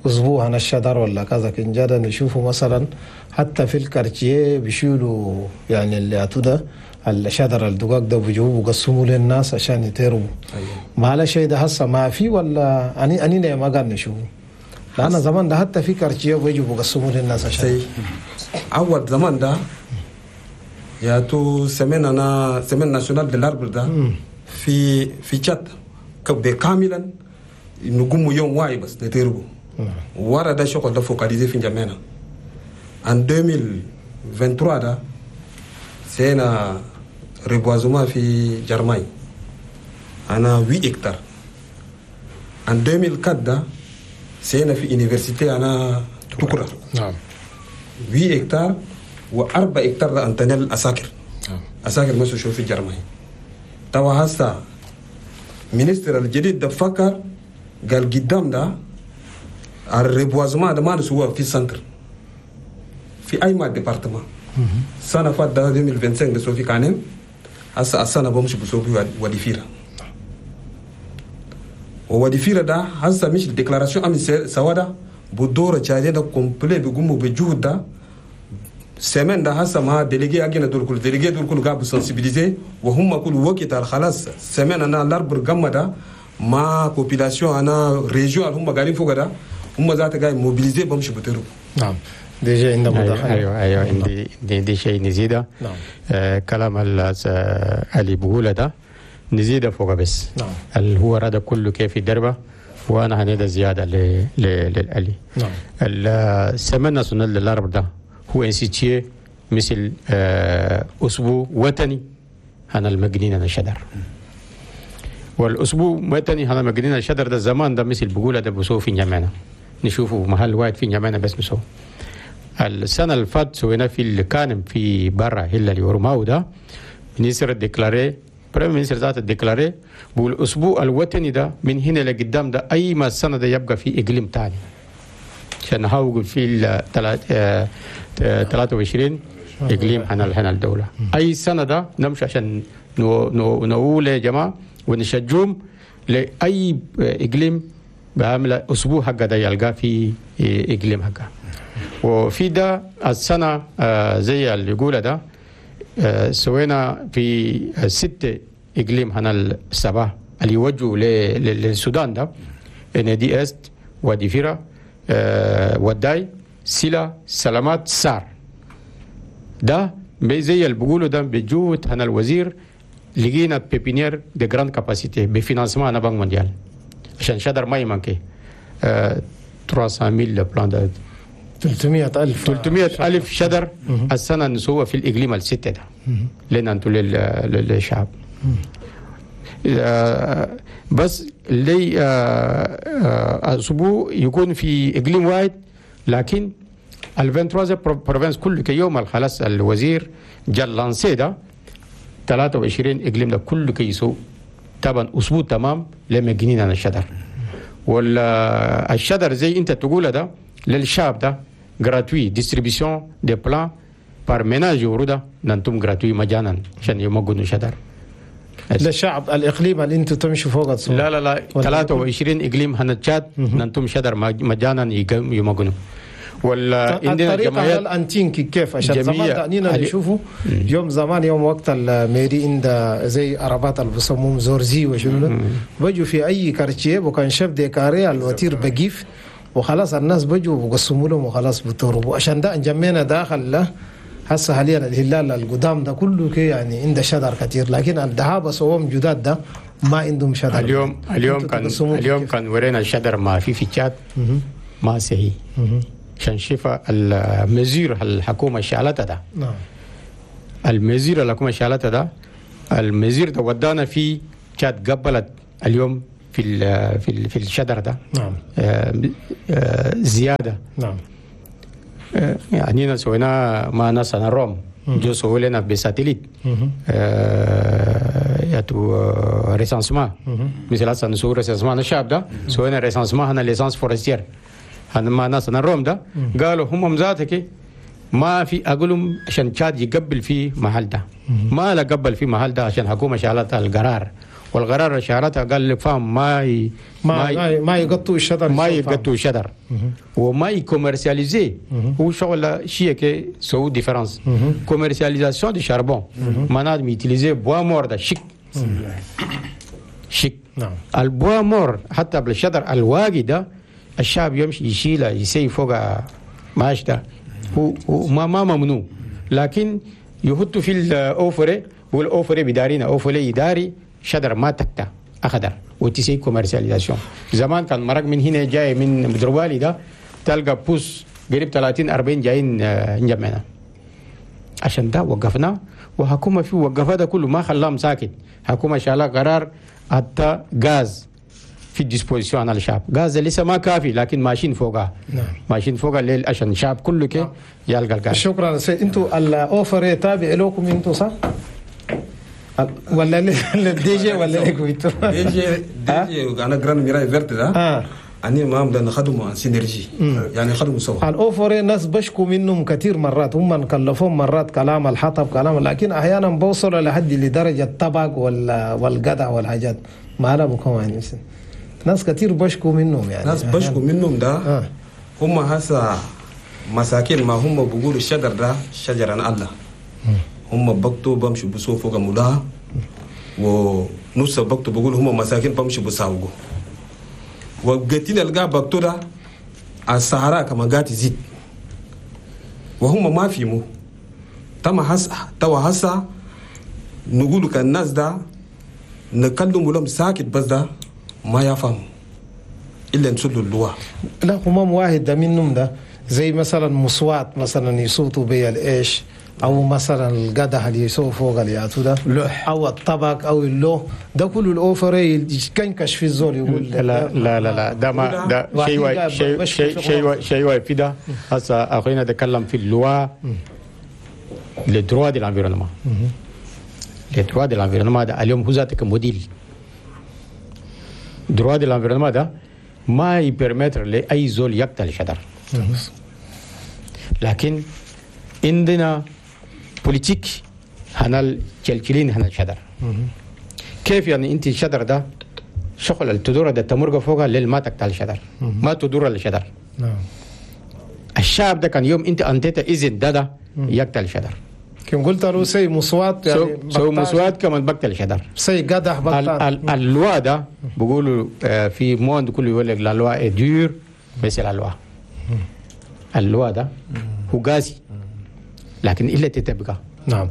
أسبوع هنا الشجر ولا كذا كنجادة نشوفه مثلا حتى في ال quartier بيشيلوا يعني اللي أتودا الشجر الدقاق ده بيجيبوه بيقسموه للناس عشان يتربوا. أيوة. ما على شيء ده هسه ما في ولا أني أنينا ما قاعد نشوفه لأن زمان ده حتى في quartier بيجوا بيقسموه للناس عشان. أول زمان ده يا تو semaine أنا semaine nationale de l'arbre ده في في تشاد كاملا نقوم يوم واحد بس نتربو ورا ده شغل ده focalisé في جامعنا en ألفين وثلاثة وعشرين ده سينا reboisement في جرماي أنا ثمانية هكتار en ألفين وأربعة ده سينا في université أنا تكرة. نعم. ثمانية هكتار وأربع هكتار ده أنتنيل الأساكر. نعم. أساكر ما شو في جرماي توا هسا ministre الجديد ده فكر قال قدام ده ال reboisement ده ما نسوه في centre في أي ما département سنة فات ده ألفين وخمسة وعشرين ده في كانم هسا السنة بمشي بسوي وادي فيرا ووادي فيرا ده هسا مش ال déclaration أمي سوا ده بدورة جايين ده complet بيقوموا بجهد ده سيمين ده هسا ما délégué أجينا دول كل délégué دول كل قابو sensibiliser وهم كل وقت على خلاص سيمين أنا l'arbre قام ده ما population أنا région هم قاعدين فوق ده هم ذات قاعد mobiliser بمشي بترو. نعم déjà عندنا مداخلة. أيوة أيوة عندي عندي شيء نزيده. نعم. آه كلام اللي بقوله ده نزيده فوق بس. نعم. اللي هو رد كله كيف دربه وأنا هنيدا زيادة ل للألي. نعم. ال semaine nationale de l'arbre ده هو institué مثل آه أسبوع وطني هنا المجنين أنا شجر. والأسبوع وطني هنا المجنين الشجر ده زمان ده مثل بقوله ده بسوه في جامعنا نشوفه محل واحد في جامعنا بس بسوه. السنة اللي فات سوينا في اللي كان في برا هلا اللي ورماو ده ministre déclaré premier ministre ذات déclaré والأسبوع الوطني ده من هنا لقدام ده أي ما السنة ده يبقى في إقليم تاني عشان هاو في ال ثلاثة وعشرين إقليم هنا هنا الدولة أي سنة ده نمشي عشان نو نو نقول يا جماعة ونشجوم لأي إقليم بعمل أسبوع حق ده يلقى في إقليم حقه. وفي ده السنة زي اللي يقوله ده سوينا في ست إقليم هنا السبعة اللي يوجهوا للسودان ده نادي إست وادي فيرا وداي سلا سلامات سار ده زي اللي بيقولوا ده بجهود هنا الوزير لقينا pépinière de grande capacité ب financement هنا Banque mondiale عشان شجر ما يمانكي ثلاثمائة mille plants ده ثلاثمائة ألف ثلاثمائة ألف شجر السنة نسوى في الإقليم الستة ده لأن أنتوا للشعب بس لي أسبوع يكون في إقليم واحد لكن ال ثلاثة وعشرين provinces كل يوم خلاص الوزير جا lancer ده ثلاثة وعشرين إقليم ده كل كيسو طبعا أسبوع تمام لما جنينا الشجر والشجر زي أنت تقول ده للشعب ده gratuit distribution des plants par ménage يوردا نانتم gratuit مجانا عشان يمجنوا شجر. ده الشعب الاقليم اللي انتم تمشوا فوق الصور. لا لا لا ثلاثة وعشرين اقليم هنا تشاد ننتم شجر مجانا يمجنوا. ولا عندنا الطريقة على الانتينكي كيف عشان زمان دعنينا نشوفه يوم زمان يوم وقت ال mairie عند زي عربات اللي بيسموهم زورزي وشنو بجوا في اي quartier وكان chef de carré ال voiture بقيف وخلاص الناس بجوا بقسموا لهم وخلاص بتهربوا. عشان ده انجمينا داخل له هسه حاليا الهلال القدام ده كله كي يعني عنده شجر كثير، لكن الذهاب سوهم جداد ده ما عندهم شجر. اليوم اليوم كان اليوم كان ورينا الشجر ما في في تشاد ما صحيح عشان شفا ال mesure الحكومة شالتها ده. نعم ال mesure الحكومة شالتها ده ال mesure ده ودانا في تشاد قبلت اليوم في ال في ال في الشجر ده. نعم آه آه زيادة. نعم آه يعني سوينا مع ناس الروم جو سووا لنا ب satellite آه ياتو recensement مثل هسه نسوي recensement الشعب ده سوينا recensement هنا licence forestière هنا مع ناس الروم ده قالوا هم ذاتك ما في اقولهم عشان تشاد يقبل في محل ده ما لا قبل في محل ده عشان حكومة شالت القرار والقرار شالتها قال لك فاهم ما ي... ما ما, ما يقطوا الشجر ما يقطوا الشجر وما ي commercialiser هو شغل شيء كي سو différence commercialisation de charbon معناه utiliser bois mort ده شيك شيك. نعم ال bois mort حتى بالشجر الواقي ده الشعب يمشي يشيله يسي فوق ماش ده هو ما ما ممنوع لكن يحطوا في ال eaux et forêts وال eaux et forêts بدارينا eaux et forêts يداري شجر ما تكتا اخضر وتسي commercialisation. زمان كان مرق من هنا جاي من مدروالي ده تلقى bus قريب ثلاثين أربعين جايين نجمعنا عشان ده وقفنا وحكومة في وقفها ده كله ما خلاهم ساكت. حكومة شالها قرار حتى غاز في disposition على الشعب غاز لسه ما كافي لكن ماشيين فوقها. نعم ماشيين فوقها الليل عشان الشعب كله كي يلقى الغاز. شكرا سيد. انتوا ال eaux et forêts تابع لكم انتوا صح؟ ولا لل DG ولا لكم انتوا؟ DG DG انا Grande Muraille Verte ده اني ما بدنا نخدمه synergie يعني خدموا سوا. ال eaux et forêts ناس بشكوا منهم كثير مرات هم نكلفهم مرات كلام الحطب كلام لكن احيانا بوصلوا لحد لدرجة الطبق والقدع والحاجات ما لا بكم يعني ناس كثير بشكوا منهم يعني ناس بشكوا منهم ده آه. هم هسا مساكين ما هم بيقولوا الشجر ده شجر عن الله هم بقتوا بمشوا بسوا فوق مداها ونص بقتوا بيقولوا هم مساكين بمشوا بساوقوا وقتين القى بقتوا ده الصحراء كما قات يزيد وهم ما فيمو تما هسا توا هسا نقولوا كان الناس ده نكلم لهم ساكت بس ده ما يفهم الا نسلوا اللواء. لا همام واحد ده منهم ده زي مثلا مصوات مثلا يصوتوا بي الايش او مثلا القدح اللي يسووا فوق الياتو ده لوح او الطبق او اللوح ده كله ال eaux et forêts يكنكش في الزول يقول لا لا لا لا ده ما ده شيء شيء شيء شيء شيء في ده هسه اخوينا تكلم في ال loi les droits de l'environnement les droits de l'environnement ده اليوم هو ذاتك modèle droit de l'environnement ده ما ي permettre لاي زول يقتل شجر لكن عندنا politique هنا الكلكلين هنا الشجر كيف يعني انت الشجر ده شغل التدور ده تمرق فوقها ليل ما تقتل الشجر ما تدور الشجر. نعم الشعب ده كان يوم انت انتيت اذن ده ده يقتل الشجر كم قلت له سي مصوات يعني سو مصوات كمان بقتل الشجر سي قدح بقتل ال loi ده بيقولوا في monde كله يقول لك la loi est dure mais c'est la loi ال loi ده هو قاسي لكن الا تتبقى. نعم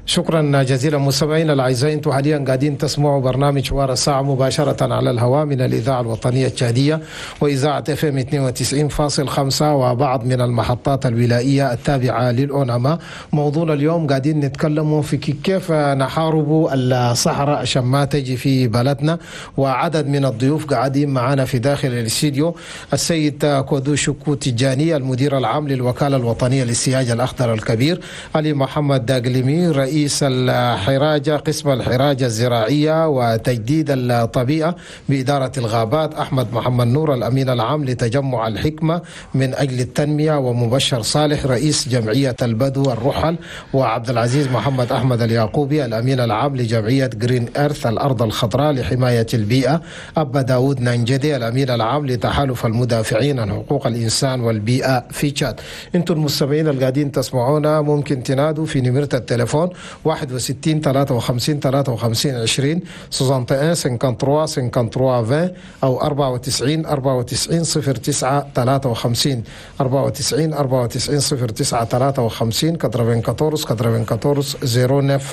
شكرا جزيلا مستمعينا الاعزاء، انتم حاليا قاعدين تسمعوا برنامج حوار الساعة مباشرة على الهواء من الاذاعة الوطنية التشاديه واذاعة FM اثنين وتسعين فاصل خمسة وبعض من المحطات الولائيه التابعة للاوناما. موضوعنا اليوم قاعدين نتكلموا في كيف نحارب الصحراء عشان ما تجي في بلدنا، وعدد من الضيوف قاعدين معنا في داخل الاستديو: السيد كودو شكو تجاني المدير العام للوكاله الوطنية للسياج الاخضر الكبير، علي محمد داقلمي رئيس رئيس الحراجة قسم الحراجة الزراعية وتجديد الطبيعة بإدارة الغابات، أحمد محمد نور الأمين العام لتجمع الحكمة من أجل التنمية، ومبشر صالح رئيس جمعية البدو الرحل، وعبد العزيز محمد أحمد اليعقوبي الأمين العام لجمعية Green Earth الأرض الخضراء لحماية البيئة، أبا داود نانجدي الأمين العام لتحالف المدافعين عن حقوق الإنسان والبيئة في تشاد. انتم المستمعين القاعدين تسمعونا ممكن تنادوا في نمرة التليفون واحد وستين ثلاثة وخمسين ثلاثة وخمسين عشرين واحد وستين ثلاثة وخمسين ثلاثة وخمسين عشرين أو أربعة وتسعين أربعة وتسعين صفر تسعة ثلاثة وخمسين أربعة وتسعين أربعة وتسعين صفر تسعة ثلاثة وخمسين أربعة وتسعين أربعة وتسعين صفر تسعة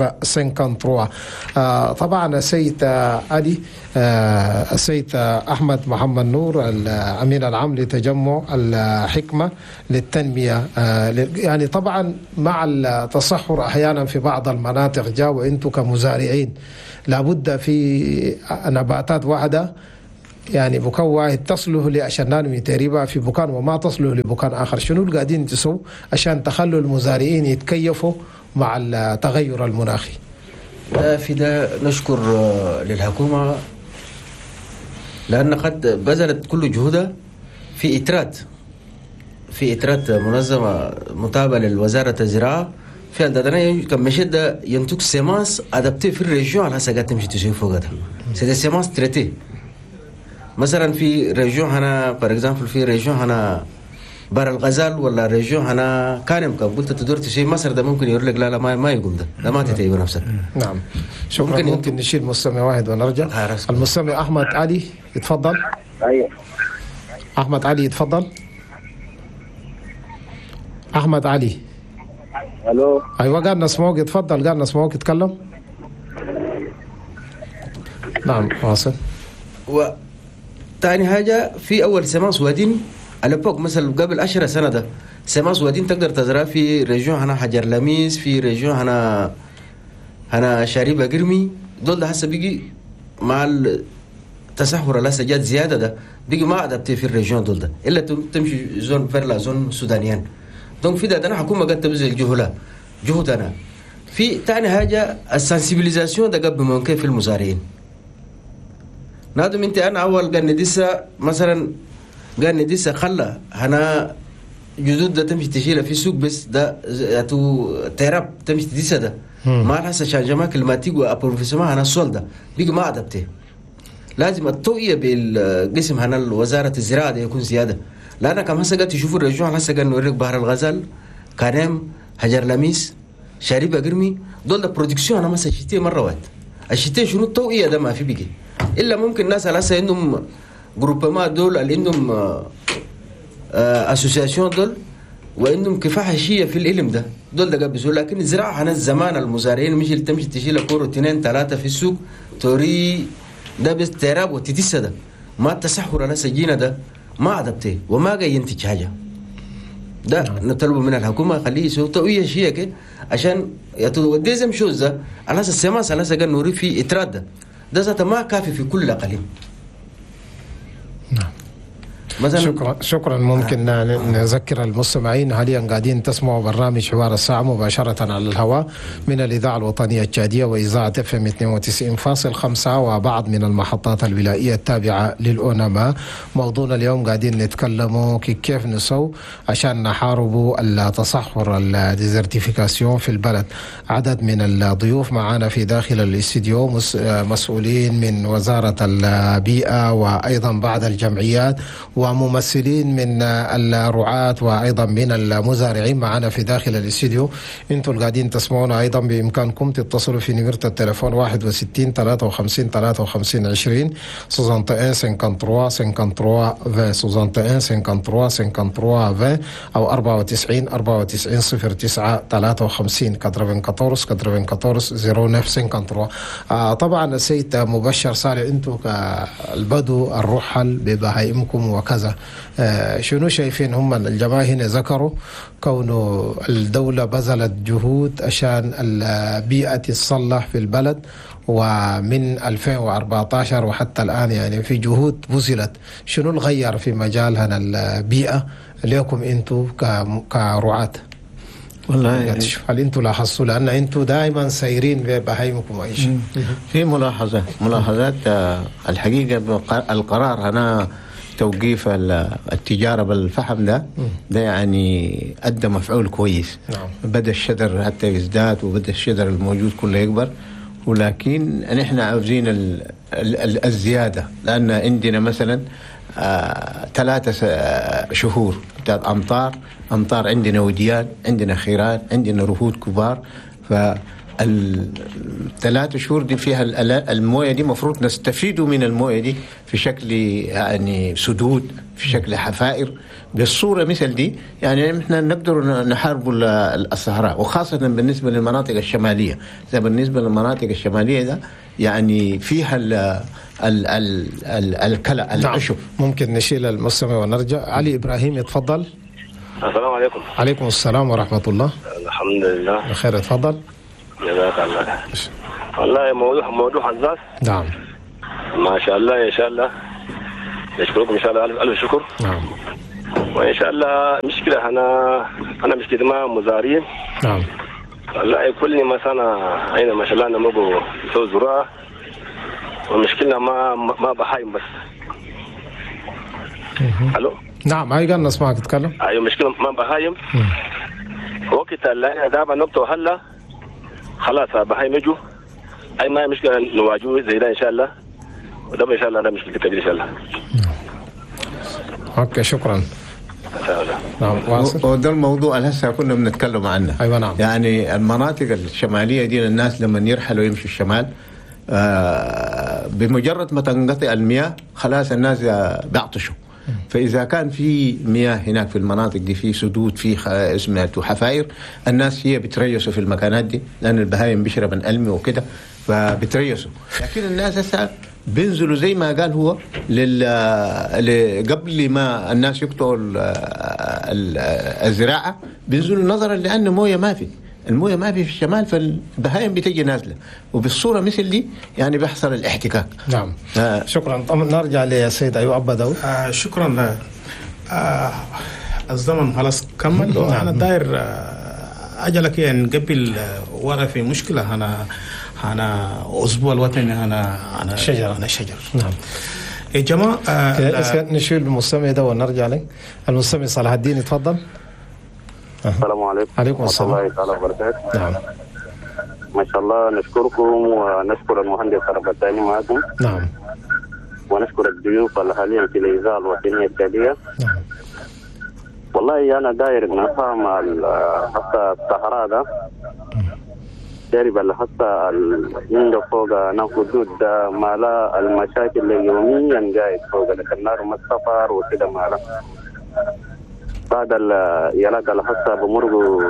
خمسة وثلاثين. آه طبعا السيد علي آه السيد أحمد محمد نور الأمين العام لتجمع الحكمة للتنمية، آه يعني طبعا مع التصحر أحيانا في بعض المناطق جاء، وإنتم كمزارعين لابد في نباتات واحدة يعني بكان واحد تصله لعشان تقريبا في بكان وما تصله لبكان آخر. شنو اللي قاعدين تسووا عشان تخلوا المزارعين يتكيفوا مع التغير المناخي؟ في ده نشكر للحكومة لأن قد بذلت كل جهودها في إترات في إترات منظمة متابعة للوزارة الزراعة في عندنا كم مشد ينتج semences adaptées في ال région على حسب تمشي تشوف فوقها c'est des semences traitées. مثلا في région هنا par exemple في région هنا بار الغزال ولا région هنا كانم كم قلت تدور تشي مصر ده ممكن يقول لك لا لا ما ما يقوم ده ده ما تتعب نفسك. نعم شكرا. ممكن, ممكن نشيل مستمع واحد ونرجع. المستمع احمد علي يتفضل. ايوه احمد علي يتفضل. احمد علي الو. ايوه قال نسمعوك يتفضل، قال نسمعوك يتكلم. نعم واصل. و تاني حاجة في أول semences وادين على بوك مثلا قبل عشرة سنة ده semences وادين تقدر تزرع في région هنا حجر لميس، في région هنا هنا شاربة قرمي، دول ده هسه بيجي مع التصحر اللي هسه جات زيادة ده بيجي ما adapté في ال région دول ده إلا تمشي zone vers la zone soudanienne. donc في ده أنا حكومة قد تبذل جهودها جهودنا. في تاني حاجة ال sensibilisation ده قبل ممكن في المزارعين. نادم انت انا اول قال ندسه مثلا قال ندسه خلى هنا جدود ده تمشي تشيلها في سوق بس ده تو تهرب تمشي تدسه ده ما هسه changement climatique و appauvrissement هنا ال sol ده بيجي ما adapté. لازم التوعية بالقسم هنا وزارة الزراعة ده يكون زيادة، لان كم هسه قاعد تشوفوا ال région هسه قاعد نوريك بحر الغزال كانم حجر لميس شاربة قرمي دول ده production انا مثلا شتي مرة واحد الشتي شنو التوعية ده ما في بيجي الا ممكن ناس على هسه عندهم groupement دول اللي عندهم association دول وعندهم كفاحه شيء في العلم ده دول ده قبل. لكن الزراعة هنا زمان المزارعين مش اللي تمشي تشيل كورو اثنين ثلاثة في السوق توري ده بس تراب وتدس ده ما التسحر على سجينه ده ما adapté وما جاي ينتج حاجة. ده نطلبه من الحكومة خليه يسوي توعيه شيء كده عشان يا deuxième chose ده على اساس ال semences على اساس نوري في اتراد ده ده ذاته ما كافي في كل الاقاليم. نعم مثلا شكرا شكرا. ممكن نذكر المستمعين حاليا قاعدين تسمعوا برنامج حوار الساعة مباشرة على الهواء من الإذاعة الوطنية التشادية وإذاعة اف ام اثنين وتسعين فاصل خمسة وبعض من المحطات الولائية التابعة للأونما. موضوعنا اليوم قاعدين نتكلموا كيف نسو عشان نحاربوا التصحر ال désertification في البلد. عدد من الضيوف معنا في داخل الاستديو مسؤولين من وزارة البيئة وأيضا بعض الجمعيات وممثلين من الرعاة وأيضا من المزارعين معنا في داخل الاستديو. انتم القاعدين تسمعونا أيضا بإمكانكم تتصلوا في نمرة التليفون واحد وستين ثلاثة وخمسين ثلاثة وخمسين عشرين واحد وستين ثلاثة وخمسين ثلاثة وخمسين عشرين واحد وستين ثلاثة وخمسين ثلاثة وخمسين عشرين أو أربعة وتسعين أربعة وتسعين صفر تسعة ثلاثة وخمسين أربعة وتسعين أربعة وتسعين صفر تسعة ثلاثة. آه طبعا السيد مبشر صالح، انتم كالبدو الرحل ببهائمكم وكذا، آه شنو شايفين هم الجماعة هنا ذكروا كون الدولة بذلت جهود عشان البيئة تتصلح في البلد، ومن ألفين وأربعة عشر وحتى الآن يعني في جهود بذلت، شنو الغير في مجال هنا البيئة لكم انتم كرعاة؟ والله هل انتم لاحظتوا؟ لان انتم دائما سايرين ببهايمكم اي شيء. في ملاحظة ملاحظات الحقيقة، القرار هنا توقيف التجارة بالفحم ده ده يعني ادى مفعول كويس. نعم. بدا الشجر حتى يزداد، وبدا الشجر الموجود كله يكبر، ولكن نحن عاوزين ال ال الزيادة، لان عندنا مثلا ثلاثة آه شهور بتاعت امطار، امطار عندنا وديان، عندنا خيران، عندنا رهود كبار، فالثلاث شهور دي فيها المويه دي مفروض نستفيدوا من المويه دي في شكل يعني سدود، في شكل حفائر بالصورة مثل دي، يعني احنا نقدر نحارب الصحراء، وخاصة بالنسبة للمناطق الشمالية. زي بالنسبة للمناطق الشمالية ده يعني فيها ال ال ال ال الكلأ العشب. نعم. ممكن نشيل المستمع ونرجع. علي إبراهيم يتفضل. السلام عليكم. عليكم السلام ورحمة الله. الحمد لله بخير، اتفضل. جزاك الله. والله موضوع موضوع حساس. نعم. ما شاء الله، إن شاء الله نشكركم إن شاء الله، ألف ألف شكر. نعم. وإن شاء الله مشكلة أنا أنا مشكلة ما مزارين. نعم. والله كل ما سنة أين ما شاء الله نمو سو زراعة، والمشكلة ما ما بهايم بس. ألو. نعم هاي قال نسمعك تتكلم. أيوة مشكلة ما بهايم. وقت اللي دابا نقطة هلا خلاص بهايم يجوا، أي ما مشكلة نواجهه زي ده إن شاء الله، وده إن شاء الله ده مشكلة كبيرة إن شاء الله. okay شكرا. نعم واصل. وده الموضوع اللي هسه كنا بنتكلم عنه. ايوه نعم. يعني المناطق الشمالية دي الناس لما يرحلوا يمشوا الشمال آه بمجرد ما تنقطع المياه خلاص الناس بيعطشوا. فاذا كان في مياه هناك في المناطق دي، في سدود، في اسمها حفاير، الناس هي بتريسوا في المكانات دي، لان البهايم بيشرب القلم وكده فبتريسوا. لكن الناس هسه بينزلوا زي ما قال هو لل... قبل ما الناس يقطعوا الزراعة بينزلوا، نظرا لان مويه ما في، المويه ما في في الشمال، فالبهايم بتجي نازله، وبالصوره مثل دي يعني بيحصل الاحتكاك. نعم. آه. شكرا. نرجع للسيد ايوب ابا داود. آه شكرا. آه الزمن خلاص كمل. نعم. انا داير اجلك يعني قبل ورا في مشكلة، انا انا اسبوع الوطني انا انا شجرة انا شجر. نعم يا جماعة. آه نشيل المستمع ده ونرجع لك. المستمع صلاح الدين يتفضل. السلام عليكم. عليكم السلام ورحمة الله تعالى وبركاته. نعم. ما شاء الله نشكركم ونشكر المهندس ربطاني معكم. نعم. ونشكر الضيوف حاليا في الإذاعة الوطنية التالية. نعم. والله أنا داير نفهم حتى الصحراء ده جارب اللي حتى عنده فوق حدود ما لا المشاكل اللي يوميا قاعد فوق لك النار ما السفر وكده ما لا بعد يلاقى اللي حتى بمرقوا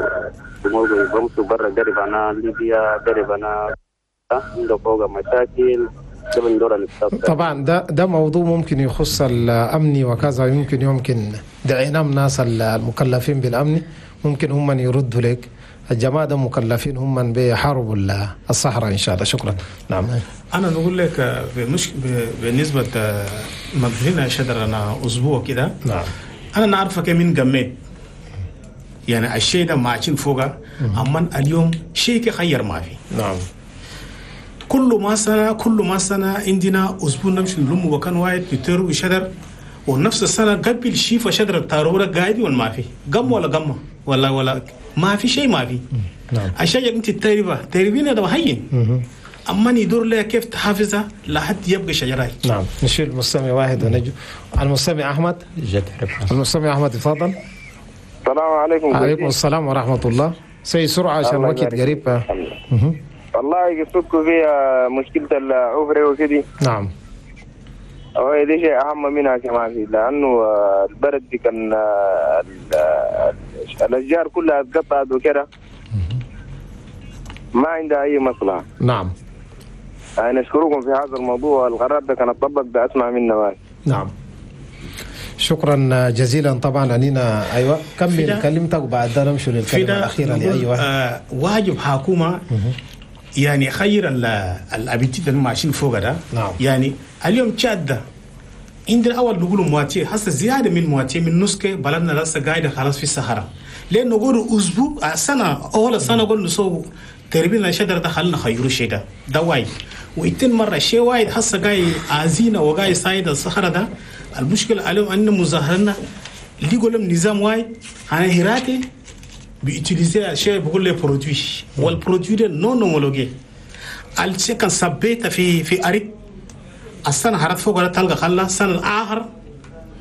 بمرقوا بمشوا برا قريب أنا ليبيا قريب أنا عنده فوق مشاكل. طبعا ده ده موضوع ممكن يخص الامني وكذا، يمكن يمكن دعينا الناس المكلفين بالامن ممكن هم من يردوا لك. الجماعة ده مكلفين هم من بيحاربوا الصحراء ان شاء الله. شكرا. نعم. انا نقول لك بمش... بالنسبة مقفلين شجر انا اسبوع كده. نعم. انا نعرفك من قميت يعني الشيء ده ماشيين فوقه، اما اليوم شيء خير ما في. نعم. كل ما سنة كل ما سنة عندنا أسبوع نمشي نلم وكان واحد بتر وشجر، ونفس السنة قبل شيف شجر التارورة قاعد ولا ما في قم ولا قمة ولا ولا ما في شيء ما في. نعم. الشجر أنت تربة تربينا ده هين. أما يدور لها كيف تحافظها لحد يبقى شجراي. نعم. نشيل المستمع واحد ونجو المستمع أحمد. المستمع أحمد تفضل. السلام عليكم. عليكم السلام ورحمة الله. سي سرعة عشان الوقت قريب. والله قصتكم فيها مشكلة العفرة وكده. نعم. هو دي شيء أهم منها كمان فيه، لأنه البرد دي كان الأشجار كلها اتقطعت وكده ما عندها أي مصلحة. نعم. نشكركم في هذا الموضوع، القرار ده كان اتطبق بأسمع منا بس. نعم. شكرا جزيلا. طبعا علينا ايوه كمل كلمتك وبعد ده نمشي للكلمة الاخيرة لاي واحد. آه واجب حكومة يعني خير الابيتي اللي ماشيين فوق ده. نعم. يعني اليوم تشاد ده عندنا اول نقول moitié، هسه زيادة من moitié من نص بلدنا لسه قاعدة خلاص في الصحراء. لين نقول اسبوع سنة اول سنة نقول نسوي تربينا شجرة ده خلينا خيرو شيء ده ده وايد. واتنين مرة شيء وايد هسه جاي عازينا وجاي سايد الصحراء ده. المشكلة عليهم ان مظاهرنا اللي يقول نظام وايد انا هراتي بي utiliser شيء بقول لي produit، وال produit ده non homologué. الشيء كان ثبت في في اريد السنة هرت فوق تلقى خلا السنة الاخر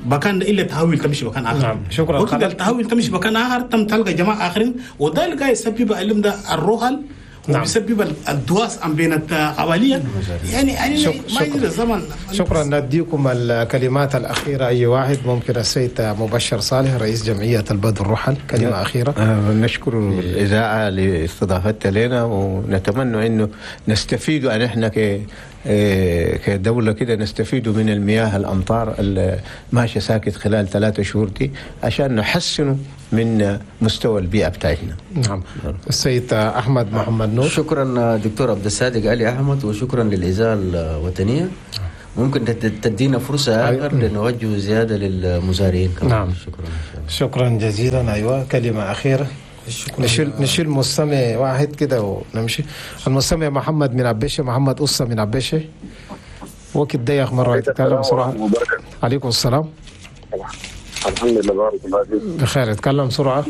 بكان الا تحول تمشي مكان اخر. نعم شكرا. وكده التحول تمشي مكان اخر تم تلقى جماعة اخرين، وده اللي قاعد يسبب العلم ده الرحل. نعم. وبيسبب الدواس عن بين القبلية يعني يعني شك ما يجري الزمن. شكرا. نديكم الكلمات الاخيرة اي واحد ممكن. السيد مبشر صالح رئيس جمعية البدو الرحل كلمة اخيرة. آه نشكر الاذاعة لاستضافتها لنا، ونتمنى انه نستفيد ان احنا ك كدولة كده نستفيد من المياه الأمطار اللي ماشية ساكت خلال ثلاثة شهور دي عشان نحسن من مستوى البيئة بتاعتنا. نعم. السيد أحمد محمد نور. شكرا دكتور عبد الصادق علي أحمد، وشكرا للإذاعة الوطنية. ممكن تدينا فرصة آخر لنوجه زيادة للمزارعين كمان. نعم. شكرا شكرا جزيلا. أيوة كلمة أخيرة. نشيل نشيل مستمع واحد كده ونمشي. المستمع محمد من عبيشه، محمد قصة من عبيشه. وقت ضيق مرة يتكلم بسرعة. عليكم السلام. الحمد لله بارك الله فيك. بخير، اتكلم بسرعة.